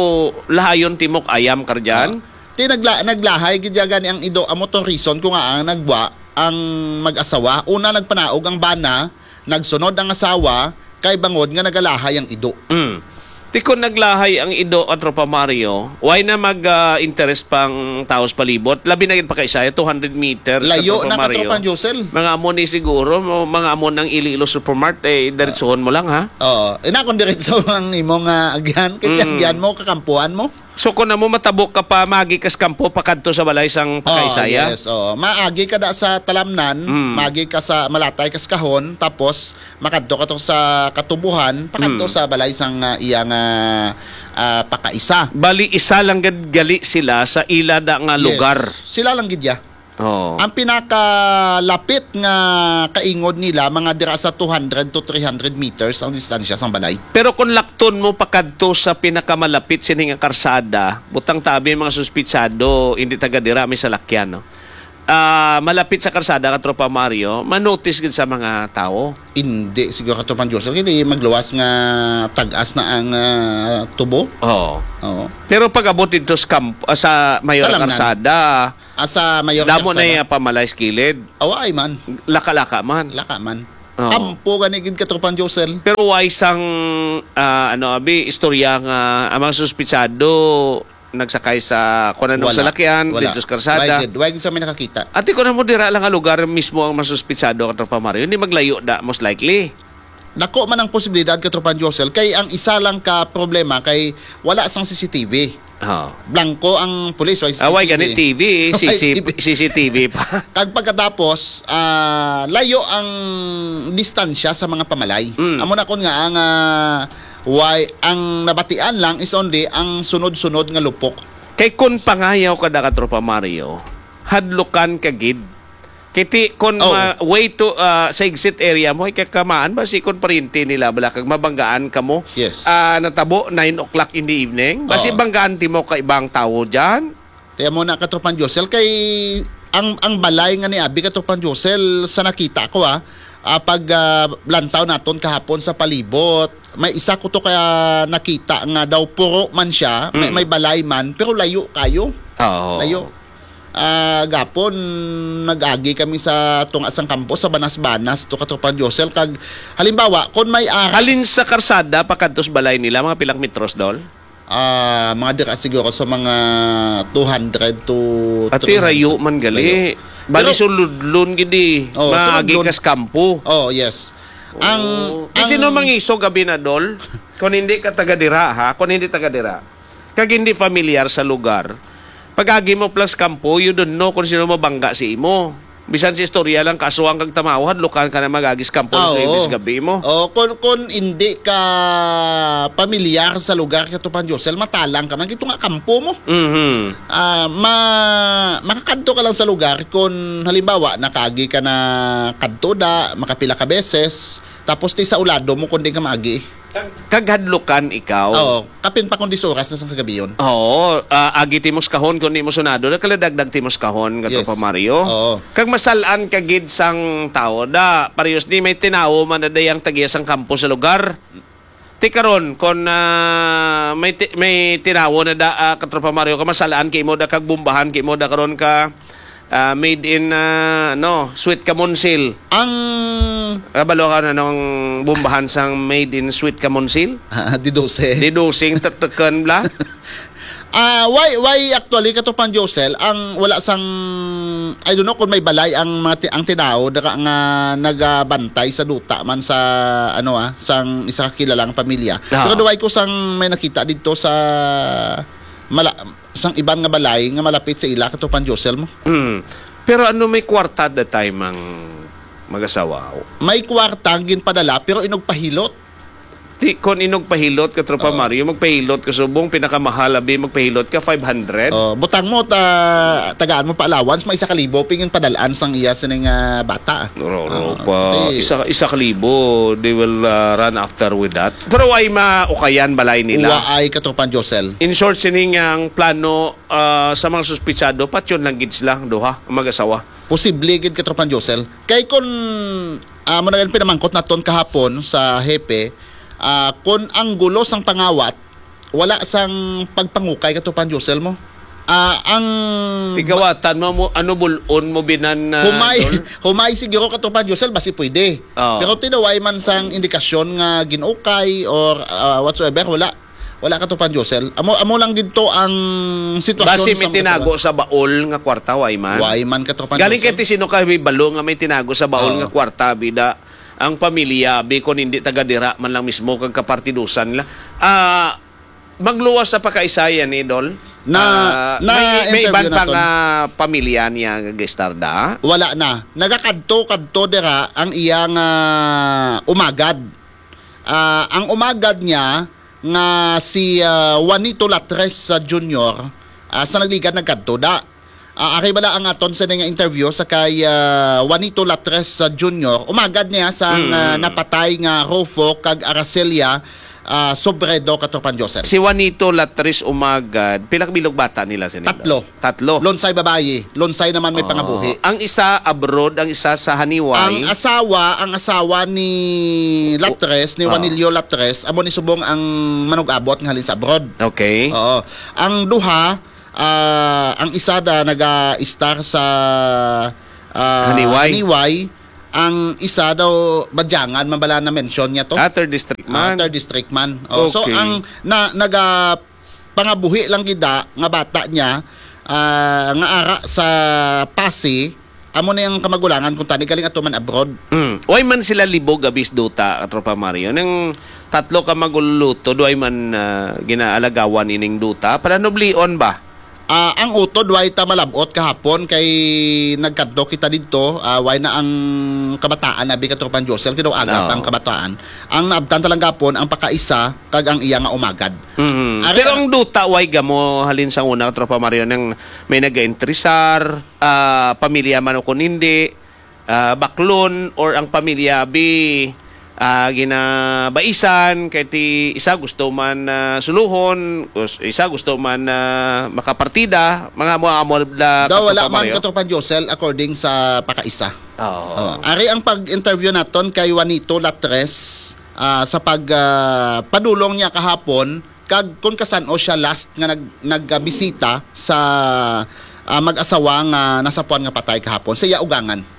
lahayon timok ayam ka dyan? Oo. Ti nagla-, naglahay gid ya gani ang ido. Amo tong reason ko nga ang nagwa ang mag-asawa. Una, nagpanaog ang bana, nagsunod ang asawa, kay bangod nga nagalahay ang ido. Mm. Ti kon naglahay ang ido, Katropa Mario, why na mag, ah, interes pang taos palibot? Labi na gid pa kay saya, two hundred meters, Layo Katropa na, Mario. Katropa Josel. Mga amo ni siguro, mo-, mga amo ng Iloilo Supermart, eh, diretsuhon mo lang, ha? Oo. Ina, kung diretso ang imo nga agyan, kay Mm. agyan mo, kakampuan mo. So, kung amo matabok ka pa, magi kas kampo, pakadto sa balay sang Oh, pakaisaya? Yes, oo. Maagi ka da sa talamnan, Mm. magi ka sa malatay kas kahon, tapos makadto ka to sa katubuhan, pakadto Mm. sa balay sang, ah, iya nga, ah, pakaisa. Bali, isa lang gid gali sila sa ila da nga Yes. lugar. Sila lang gid ya. Oo. Ang pinakalapit nga kaingod nila, mga dira sa two hundred to three hundred meters ang distansya sang balay. Pero kung lakton mo pakadto sa pinakamalapit sini nga karsada, butang tabi mga suspitsado, hindi taga dira, may salakyan, no? ah, malapit sa karsada, Katropa Mario, manotice gid sa mga tawo. Hindi siguro, Katropang Josel, kay di magluwas nga tag-as na ang, ah, tubo. Oo. Oo. Pero pag abot dito sa kamp-, ah, sa Mayor Talamnan. Karsada, Ah, sa Mayor damo na Karsada. Yung pamalay sa kilid. Awa ay man. Laka-laka man. Laka man. Oo. Kampo gani gid, Katropang Josel. Pero way sang, ah, ano, abi, istorya nga ang mga suspitsado nagsakay sa kung anong Wala. Salakyan, Wala. Dito sa karsada. Why gid? Why gid sa may nakakita? Ate, kung mo dira lang nga lugar mismo ang masuspitsado, Katropa Mario, hindi maglayo da, most likely. Dako man ang posibilidad, Katropang Josel, kay ang isa lang ka problema kay wala sang C C T V. Oh. Blanco ang pulis, way Ah, way C C T V. Gani T V, Way C C, T V. C C T V pa. Kag pagkatapos, ah, layo ang distansya sa mga pamalay. Mm. Amo na kon nga ang, ah, way, ang nabatian lang is only ang sunod-sunod nga lupok. Kay kun pangayaw ka da, Katropa Mario, hadlukan ka gid. Kiti, kon Oh. ma-, way to, ah, sa exit area mo, ay kakamaan ba si kon paryente nila bala kag mabanggaan ka mo? Yes. Ah, natabo nine o'clock in the evening. Basi Oh. banggaan ti mo ka ibang tawo dyan? Kaya mo na, Katropang Josel, kay ang, ang balay nga ni Abi, Katropang Josel, sa nakita ko, ah, ah, pag, ah, lantaw naton kahapon sa palibot, may isa ko to kaya nakita nga daw puro man siya, may, Mm. may balay man, pero layo kayo. Oo. Layo. Ah, gapon, nag-agi kami sa tunga sang kampo, sa Banas-Banas, to, Katropang Josel. Kag, halimbawa, kung may aras Halin sa karsada, pakadto sa balay nila, mga pilang metros, Dol? Ah, mga dira siguro sa mga two hundred to Ati, three hundred. Rayo man gali. Rayo. Bali, Pero suludlon gid eh. Oh, Maagi suludlon. Kas kampo. Oh, yes. Ang, Oh. Di ang sino mangisog, abi na, Dol? Kung hindi ka taga dira, ha? Kung hindi taga dira. Kag hindi familiar sa lugar. Pag-agi mo plus kampo, you don't know kung sino mabangga si imo. Bisan si istorya lang, kaso ang kagtamaw, hadlukan ka na mag-agi sa kampo, Ah, sa oo. Lunes gabi mo. Oh, kung, kung hindi ka pamilyar sa lugar, Katropang Josel, matalang ka man. Ito nga kampo mo. Mhm. Ah, ma-, makakadto ka lang sa lugar kung, halimbawa, nakaagi ka na kadto da, makapila ka beses, tapos ti sa ulado mo kung di ka maagi. Kag, kag hadlukan ikaw. Oo, kapin pa kung dis oras na sa kagabi yun. Oo, ah, agi ti mo sa kahon kung di mo sunado, nakaladagdag ti mo sa kahon, Katropa Yes. Mario. Oo. Kag masalan ka gid sang tawo da, parehas ni may tinawo man na dayang tagiya sang kampo sa lugar. Ti karon, kon, ah, may ti-, may tinawo na da, ah, Katropa Mario, ka masalaan kay mo da kag bombahan kay mo da karon ka, ah, made in, ah, no, Sweet Kamonsil. Ang Kabalo ka na nung bombahan sang made in Sweet Kamonsil? Ah, di dose. Di dosing tatakan bla? Ah, why, why actually, Katropang Josel, ang wala sang, I don't know kung may balay ang mga ti-, ang tinawo, daka nga nagabantay sa duta man sa, ano, ah, sang isa ka kilalang pamilya. Ah. Pero duway ko sang may nakita dito sa mala-, sang iban nga balay nga malapit sa ila, Katropang Josel mo. Hmm. Pero ano may kwarta that time ang mag-asawa? May kwarta ang ginpadala, pero inugpahilot. Ti, kon inugpahilot, Katropa Oo. Mario, magpahilot ka subong, pinakamahal, abi, magpahilot ka, five hundred. Oh, butang mo, ta-, tagaan mo pa allowance, may isa ka libo, pingin padalaan sang iya sining, ah, bata. Ro, ro, Ah, pa, ti isa, isa ka libo, they will, ah, run after with that. Pero ay maukayan balay nila. Waay, Katropang Josel. In short, sining ang plano, ah, sa mga suspitsado, patyon lang gid sila, ang duha, ang mag-asawa. Posible gid, Katropang Josel. Kay kun, ah, mo na gani pinamangkot naton kahapon sa hepe, ah, kun ang gulo sang pangawat, wala sang pagpangukay, Katropang Josel mo. Ah, ang Tigawatan mo, mo, ano bulon mo binan, ah, Humay, Dol? Humay siguro, Katropang Josel, basi pwede. Oo. Pero tinaway man sang indikasyon nga ginukay or, ah, whatsoever, wala. Wala, Katropang Josel. Amo, amo lang gid to ang sitwasyon Basi sa may mga tinago asawa. Sa baol nga kwarta, way man. Way man, Katropang Galing Josel. Kay ti sino ka may balo nga may tinago sa baol Oo. Nga kwarta, bida ang pamilya, bi kon hindi taga dira man lang mismo kag kapartidusan nila. Ah, magluwas sa pakaisaya ni Dol. Na, Ah, na may, may interview iban pa naton. Nga pamilya niya nga gistarda. Wala na. Nagakadto-kadto dira ang iyang, ah, umagad. Ah, ang umagad niya nga si, ah, Juanito Latres, ah, Junior, ah, sa nagligad nagkadto da. Ah, ari bala ang aton sa nga interview sa kay, ah, Juanito Latres, ah, Junior. Umagad niya sang, Mm. ah, napatay nga Rufo kag Araceli, ah, ah, Sobredo, Katropang Josel. Si Juanito Latres Umagad, pila ka bilog bata nila sini? Tatlo. Tatlo. Lonsay babayi, lonsay naman may Oh, pangabuhi. Ang isa abroad, ang isa sa Haniway. Ang asawa, ang asawa ni Latres, ni Oh. Juanilio Latres, amo ni subong ang manug-abot nga halin sa abroad. Okay. Oo. Ang duha, ah, ang isa da naga-star sa, ah, Haniway. Haniway. Ang isa daw, Badyangan, mabala na mention niya to. Ah, third district Ah, man. Third district man. Oh, so, Okay. ang na, naga, pangabuhi lang gid da nga bata niya, ah, nga ara sa Pasi, amo ni ang kamagulangan kung tani galing ato man abroad. Mm. Way man sila libog, abis duta, Katropa Mario. Nang tatlo ka magulutod, way man, ah, ginaalagawan ining duta. Palanublion ba? Ah, ang utod, way ta malab-ot kahapon kay nagkadto kita didto, ah, way na ang kabataan, abi, Katropang Josel, kay daw aga Oo. pa ang kabataan. Ang naabtan ta lang gapon, ang pakaisa, kag ang iya nga umagad. Mm. Ari Pero ang ang duta, way gamo, halin sa una, Katropa Mario, nang may nag-entrisar, ah, pamilya man o kung hindi, ah, baklon or ang pamilya bi, ah, ginabaisan, kay ti isa gusto man, ah, suluhon, us-, isa gusto man, ah, makapartida, mga amo-amo la Daw, wala Katropa man, Mario. Katropang Josel, according sa pakaisa. Oo. Oh, ari ang pag-interview naton kay Juanito Latres, ah, sa pag, ah, padulong niya kahapon, kag kung kasan-o siya last nga nag-, nagbisita sa, ah, mag-asawa nga nasapuan nga patay kahapon sa iya ugangan.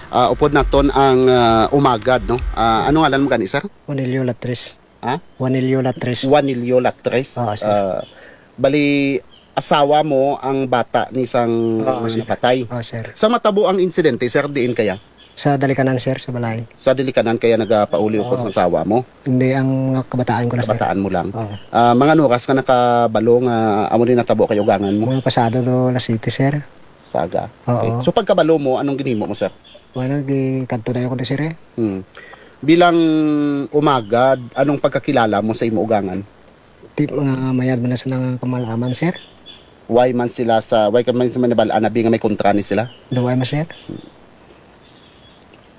Ah, upod naton ang, ah, umagad, no? Ah, ano ngalan mo gani, sir? Juanilio Latres. Ha? Juanilio Latres. Juanilio Latres. Oo, sir. Ah, bali, asawa mo ang bata ni sang Oo, sir. napatay. Oo, sir. Sa matabo ang insidente, sir, diin kaya? Sa dalikanan, sir, sa balay. Sa dalikanan kaya nagapauli upod Oo. sa asawa mo? Hindi, ang kabataan ko na, sir. Kabataan mo lang. Oo. Ah, mga ano oras ka nakabalo nga amo ni natabo kay ugangan mo? Mga pasado do alas siyete, sir. Saga. Oo. Okay. So, pagkabalo mo, anong ginhimo mo, sir? Wala, gikadto na ako na, sir, eh. Hmm. Bilang umagad, anong pagkakilala mo sa imo ugangan? Ti, mga mayad man na sa nang kamalaman, sir. Why man sila sa, why ka man sa manibal-an, abi nga may kontra ni sila? Daw ay man, sir.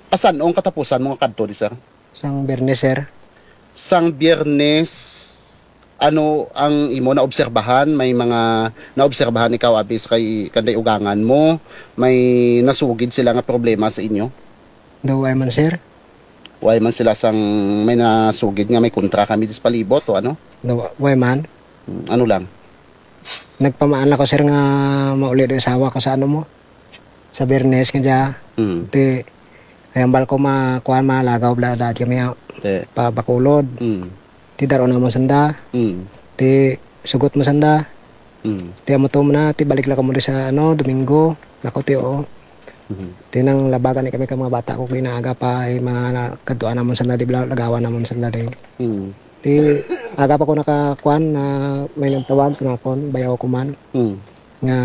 Asan ang katapusan mo nga kadto di, sir? Sang Biyernes, sir. Sang Biyernes, ano ang imo naobserbahan? May mga naobserbahan ikaw, abi, sa kay kanday ugangan mo? May nasugid sila nga problema sa inyo? Daw ay man, sir. Why man sila sang may nasugid nga may kontra kami dis palibot o ano? Daw, why man? Hmm, ano lang? Nagpamaan ako, sir, nga mauli do asawa ko sa ano mo? Sa Biyernes nga dya. Mm. Ti, ay, hambal ko ma-, kuwan, malagaw, bla, dati kami, ah, Te. pa Bacolod. Mm. Ti, daro namon sanda. Mm. Ti, sugot mo sanda. Mm. Ti, amo to mo na, ti, balik lang kamo di sa, ano, Domingo. Ako, ti, oo. Mhm. Ti, nang labagan ni kami ka mga bata ko, kinaaga pa, ay, mga na-, kadtuan namon sanda, di bla, lagawan namon sanda, di. Mm. Ti, aga pa ko nakakuan na may nagtawag sa akon, bayaw ko man. Mm. Nga,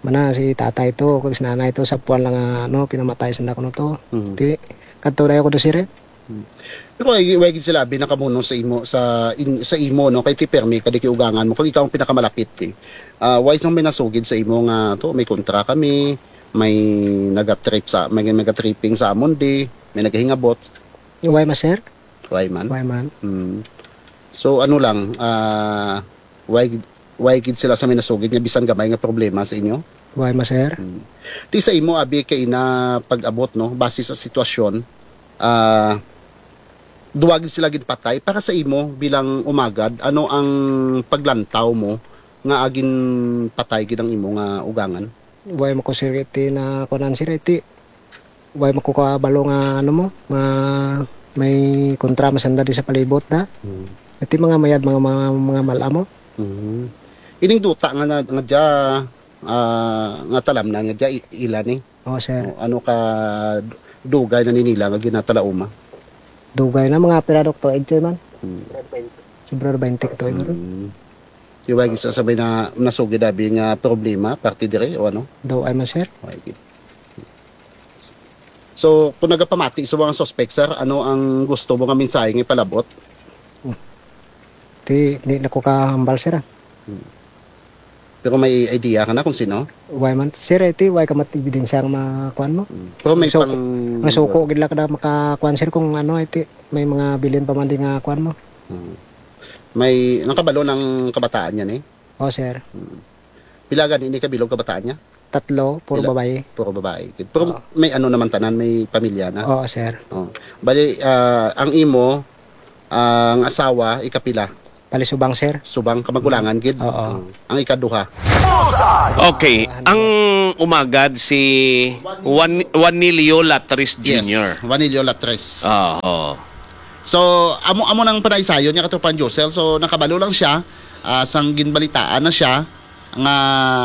mana si tatay to, kag si nanay to, sa puan lang nga, ano, pinamatay sa kuno to. Mm. Ti, kadto dayo ko do, sir, eh. Mm. Pero way, way gid sila, abi, nakamuno sa imo, sa in-, sa imo, no? Kay ti permi, kadi kay ugangan mo, kag ikaw ang pinakamalapit, eh. Ah, way sang may nasugid sa imo nga, to, may kontra kami, may nagatrip sa, may nagatripping sa amon, di, may nagahingabot. Way man, sir? Way man? Way man. Mm. So, ano lang, ah, way, way gid sila sa may nasugid nga bisan gamay nga problema sa inyo? Way man, sir. Mm. Ti sa imo, abi, kay ina pag-abot, no, base sa sitwasyon, ah, duwa gid sila gid patay. Para sa imo, bilang umagad, ano ang paglantaw mo nga agin patay gid ang imo nga ugangan? Way mo ko, sir, iti na kunan, sir, iti. Way mo ko kabalo nga, ano mo, nga may kontra masanda di sa palibot na. Mm. Iti mga mayad, mga, mga, mga mala mo. Mm. Ining duta nga na, nga dya, ah, nga talamnan nga dya, i-, ila ni? Oo, sir. O, ano ka dugay na ninila nga ginatalauma? Dugay na, mga pira, Doktor Edjoy, man. Mm. Sobra twenty ka tuig, bro. Mm. Di ba, isa sa may na, nasugid abi nga problema, parte dire, o ano? Daw ay man, sir. Okay. So, kung nagapamati sa mga suspect, sir, ano ang gusto mo nga mensahe nga ipalabot? Ti, di na ko kahambal, sir, ah. Hmm. Pero may idea ka na kung sino? Way man, sir, iti, way ka mat-, ebidensya nga makuan mo. Hmm. Pero may So, pang- ang suko gid lang ka na makakuan, sir, kung ano, iti, May mga bilin pa man di nga kuan mo. Hmm. May nakabalo ng kabataan niya ni? Oh, sir. Hmm. Pila gani ni kabilog kabataan niya? Tatlo, puro Pila? Babae. Puro babae. Pero Oo. May ano naman tanan, may pamilya na. Oo, sir. Oh. Bali, ah, ang imo, ah, ang asawa, ikapila? Bali, subang, sir. Subang kamagkulangan, gid. Oo. Oh. Ang ikaduha. Okay, ang umagad si Juan, Juanilio Latres Yes, Junior. Juanilio Latres. Oo. So, amo, amo nang panaysayon niya, Katropang Josel. So, nakabalo lang siya, ah, sang ginbalitaan na siya nga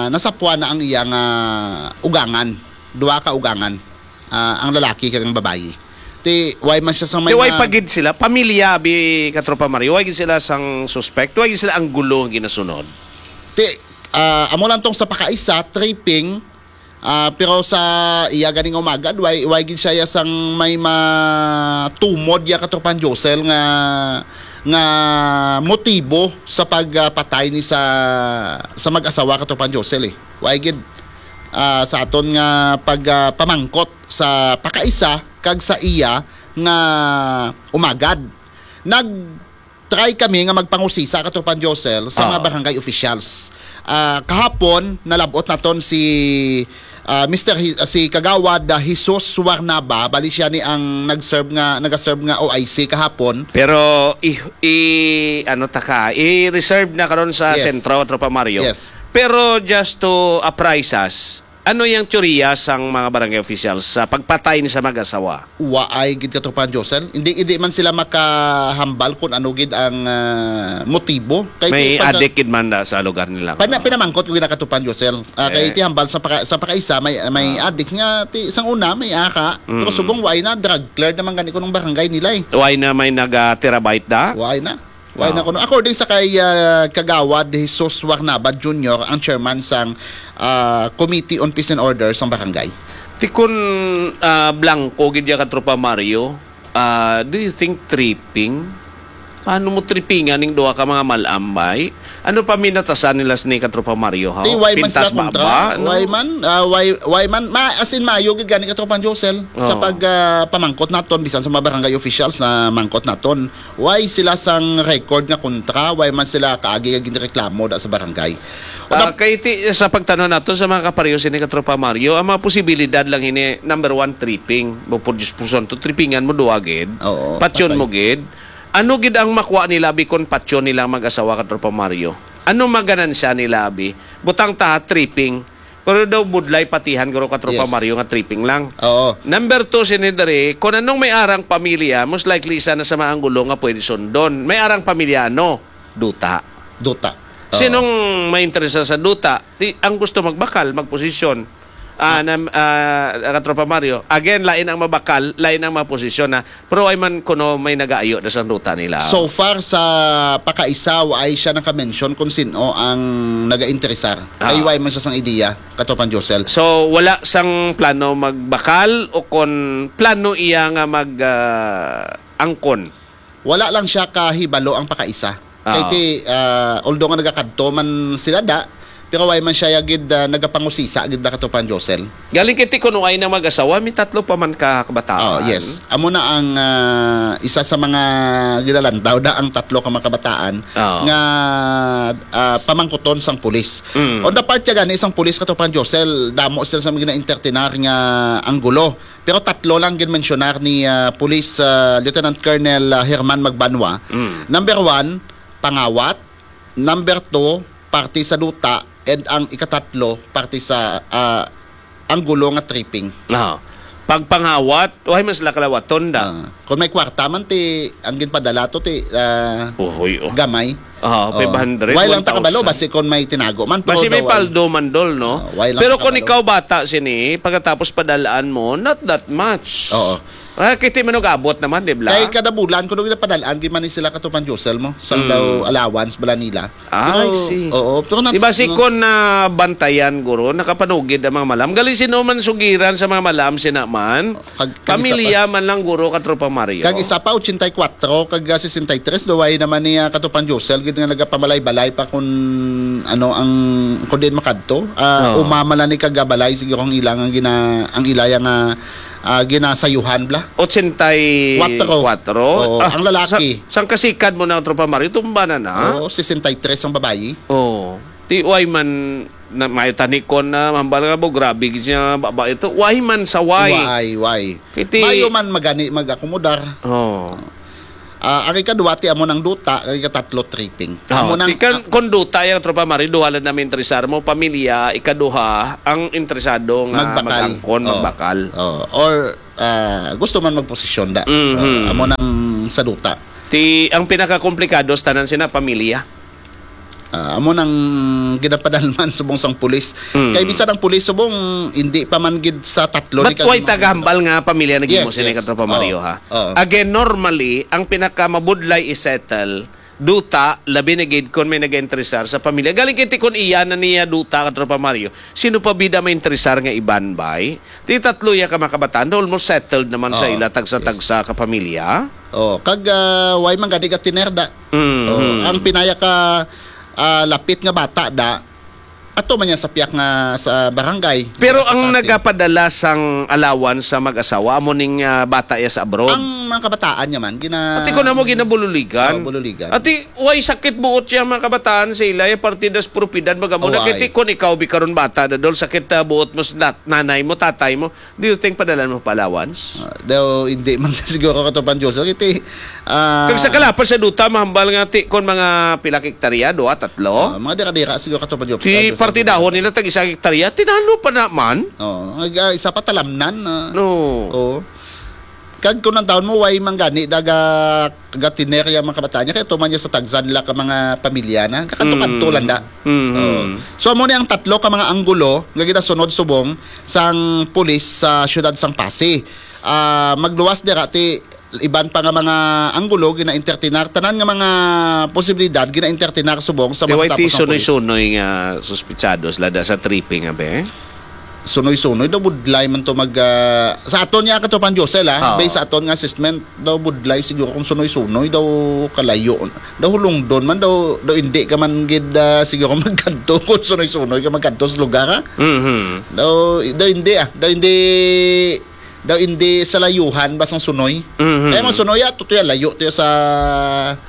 nasapwan na ang iya nga ugangan, duha ka ugangan, ah, ang lalaki kag ang babayi. Ti, way man siya sang may Ti, way nga pa gid sila, pamilya, bi, Katropa Mario, way gid sila sang suspect, way gid sila ang gulo nga ginasunod. Ti, ah, amo lang tong sa pakaisa, tripping, ah, pero sa iya gani nga umagad, way, way gid siya ya sang may matumod ya, Katropang Josel, nga, nga motibo sa pagpatay ni sa, sa mag-asawa, Katropang Josel, eh. Way gid, ah, sa aton nga pag, ah, pamangkot sa pakaisa kag sa iya nga umagad. Nag-try kami nga magpangusisa, Katropang Josel, sa mga Oo. barangay officials. Ah, kahapon, nalab-ot naton si, ah, Mister Hi-, ah, si Kagawad, ah, Jesus Suarnaba, bali siya ni ang nag-serve nga, nag-serve nga O I C kahapon. Pero i, i, ano ta ka, i-reserve na karon sa Yes. sentro, Tropa Mario. Yes. Pero just to apprise us, ano yang teorya sang mga barangay officials sa pagpatay ni sa mag-asawa? Waay gid, Katropang Josel. Hindi, hindi man sila makahambal kung ano gid ang, ah, motibo. Kay May di pagka- adik gid man da sa lugar nila. Pana-, pinamangkot ko gid na, Katropang Josel. Ah, kay Eh. ti hambal sa paka-, sa pakaisa, may, may Ah. adik nga, ti, sang una, may aka. Pero Mm. subong, waay na, drug cleared naman gani kunong barangay nila, eh. Waay na may naga-terabyte da? Waay na. Waay na Oo. kuno. According sa kay, ah, Kagawad Jesus Warnaba Junior, ang chairman sang, ah, Committee on Peace and Order sang barangay. Ti kun, ah, blanco gid ya, Katropa Mario, ah, do you think tripping? Paano mo trippingan ning duha ka mga mal-am, bay? Ano pa minatasan nila sini, Katropa Mario, ha? Ti, why man Pintas sila kontra? Baba, no? Why man? Ah, why, why man? Ma-, as in, maayo gid gani, Katropang Josel, sa Oo. pag, ah, pamangkot naton, bisan sa mga barangay officials na mangkot naton. Why sila sang record nga kontra? Why man sila kaagi nga ginreklamo da sa barangay? O Ah, da- kay ti, sa pagtanong nato sa mga kapareho sini, Katropa Mario, ang mga posibilidad lang ini, number one, tripping. Mo produce puson to, trippingan mo duwa gid. Oo, Patyon patay. mo gid. Ano gid ang makuha nila bikon patyon nila ang mag-asawa, Katropa Mario? Ano maganansya nila, abi? Butang ta, tripping. Pero daw budlay patihan, guro, Katropa Yes. Mario, nga tripping lang. Oo. Number two, sini diri, kung anong may arang pamilya, most likely isa na sa mga anggulo nga pwede sundon. May arang pamilya, ano? Duta. Duta. Oo. Sinong may interesa sa duta? Di, ang gusto magbakal, magposisyon. Ah, Ah. nam-, ah, Katropa Mario. Again, lain ang mabakal, lain ang maposisyon, ha. Pero ay man kuno may nagaayo na sa ruta nila. So far sa pakaisa, wa ay siya naka-mention kung sino ang naga-interesar. Ah. Ay, wa man siya sang ideya, Katropang Josel. So, wala sang plano magbakal o kon plano iya nga mag, ah, angkon? Wala lang siya kahibalo ang pakaisa. Kay Ah. ti, ah, although nga nagakadto man sila da, pero way man siya gid, ah, nagapangusisa gid ba, Katropang Josel? Galing kay ti kuno ay na mag-asawa, may tatlo pa man ka kabataan. Oh, yes. Amo na ang, ah, isa sa mga ginalantaw da ang tatlo ka mga kabataan Oo. nga, ah, pamangkuton sang pulis. Mm. On the part niya gani, isang pulis, Katropang Josel, damo sila sa mga gina-entertainar nga anggulo. Pero tatlo lang ginmensyonar ni, ah, Police, ah, Lieutenant Colonel, ah, Herman Magbanwa. Mm. Number one, pangawat. Number two, parte sa duta. And ang ikatatlo, parte sa, ah, anggulo nga tripping. Ah. Pagpangawat, way man sila kalawaton da. Ah. Kung may kwarta man, ti, ang ginpadala to, ti, ah, Uhoy, oh. gamay. Ah, Oh. five hundred, Way lang ta kabalo, one thousand. Basi kung may tinago man, Basi pero may daw, paldo man, dol, no? Ah, way lang Pero ta kung kabalo. ikaw bata sini, pagkatapos padalaan mo, not that much. Oo. Ah, kiti man og abot naman, di ba? Kay kada bulan, kung nagpadalaan, gid man ni sila, Katropang Josel, mo. Sang Mm. daw allowance bala nila. Ah, I Pero, see. oo, pero not, Di ba si no? Kon na bantayan, guro, nakapanugid ang mga malam? Galing sino man sugiran sa mga malam, sina man? Kag, kag isa Pamilya pa. man lang, guro, Katropang Mario. Kag isa pa, ochenta y cuatro, kag, ah, sesenta y tres, daw ay naman ni, ah, Katropang Josel, gid nga nagapamalay-balay pa kung, ano, ang, kung diin makadto. Ah, Oo. umama lang ni kagabalay, siguro ang ilang, ang gina-, ang ilaya nga, ah, ginasayuhan bla. Ochenta y kuatro. Oo, Ah, ang lalaki. Sa, sang kasikad mo na, Tropa Mario, tumba na na. Oo, sesenta y tres ang babayi. Oo. Ti, why man na, may tanikon na, hambal nga bo, grabe gid siya, baba ito. Why man sa why? Why, why? Kiti Mayo man magani mag-akomodar. Oh. Ah, ang ikadua, ti amo nang duta, ang ikatatlo, tripping. Oh, Amo nang ti kan, kung duta yang, Tropa Mario, duha lang namin interesar mo, pamilya, ikaduha, ang interesado nga Magbakal. mag-angkon, Oh. magbakal. Oh. Or, ah, gusto man magposisyon da. Mhm. Ah, amo nang sa duta. Ti, ang pinakakomplikado sa tanan sina pamilya. Ah, amo nang ginapadalman subong sang pulis. Mm. Kay bisan ang pulis subong, hindi pa man gid sa tatlo But ni why kag-, tagahambal nga pamilya nag-imo Yes, sini, yes. Katropa Mario, Oo, ha? oo. Again, normally, ang pinakamabudlay i-settle, duta, labi na gid kon may nag-interesar sa pamilya. Galing kay ti kon iya na niya duta, Katropa Mario, sino pa bida may interesar nga iban, bay? Ti tatlo ya ka mga kabataan, almost settled naman sa Oo, ila, tagsa-tagsa ka pamilya. Oh, kag, ah, way man gani ka tinerda. Mm, Oh, mm. ang pinaya ka, ah, lapit nga bata da, ato man yan sa piyak nga sa barangay, Pero sa ang Pasig. nagapadala sang allowance sa mag-asawa, amo ning, ah, bata ya sa abroad. Ang mga kabataan niya man, gina- Pati ko na mo ginabululigan. Oh, bululigan. Ati, way sakit buot siya mga kabataan sa ila, ya parte das propiedad, magamo na Way. kay ti kon ikaw bi karon bata, dadol sakit, ah, buot mo sa nat-, nanay mo, tatay mo. Do you think padalan mo pa allowance? Ah, daw, hindi man siguro, Katropa Josel. Iti, ah, Kag sa kalapas sa duta, mahambal nga ti, kon mga pila ka hektarya, duha, tatlo? Ah, mga dira-dira siguro, Katropa Josel. Si Ah, Josel. partidahon nila tag isa ka hektarya, tinalo pa naman. Oo. Ag-, ah, isa pa talamnan, ah. No. Oo. Kag kung ang taon mo, way man gani, daga, gatinerya mga kabataan niya, kaya tuman niya sa tagsa nila ka mga pamilya na. Kakadto-kadto Mm. lang da. Mm. Oo. So, amo ni ang tatlo ka mga anggulo nga ginasunod subong sang pulis sa siyudad sang Passi. Ah, magluwas dira ti iban pa nga mga anggulo gina-entertainar, tanan nga mga posibilidad gina-entertainar subong sa Kay mga why ti katapos nga pulis. sunoy-sunoy nga suspitsado sila da sa tripping, abe? Sunoy-sunoy daw budlay man to mag, ah, sa aton niya, Katropang Josel, ah, Ah. based sa aton nga assessment, daw budlay siguro kung sunoy-sunoy daw kalayo. Daw hulungdon man, daw, daw hindi ka man gid, ah, siguro magkadto kung sunoy-sunoy ka magkadto sa lugar, ah. Mhm. Daw, daw hindi, ah. Daw hindi, daw hindi sa layuhan ba sang sunoy? Mhm. Kaya mga sunoy, ah, tutuya layo, tuya sa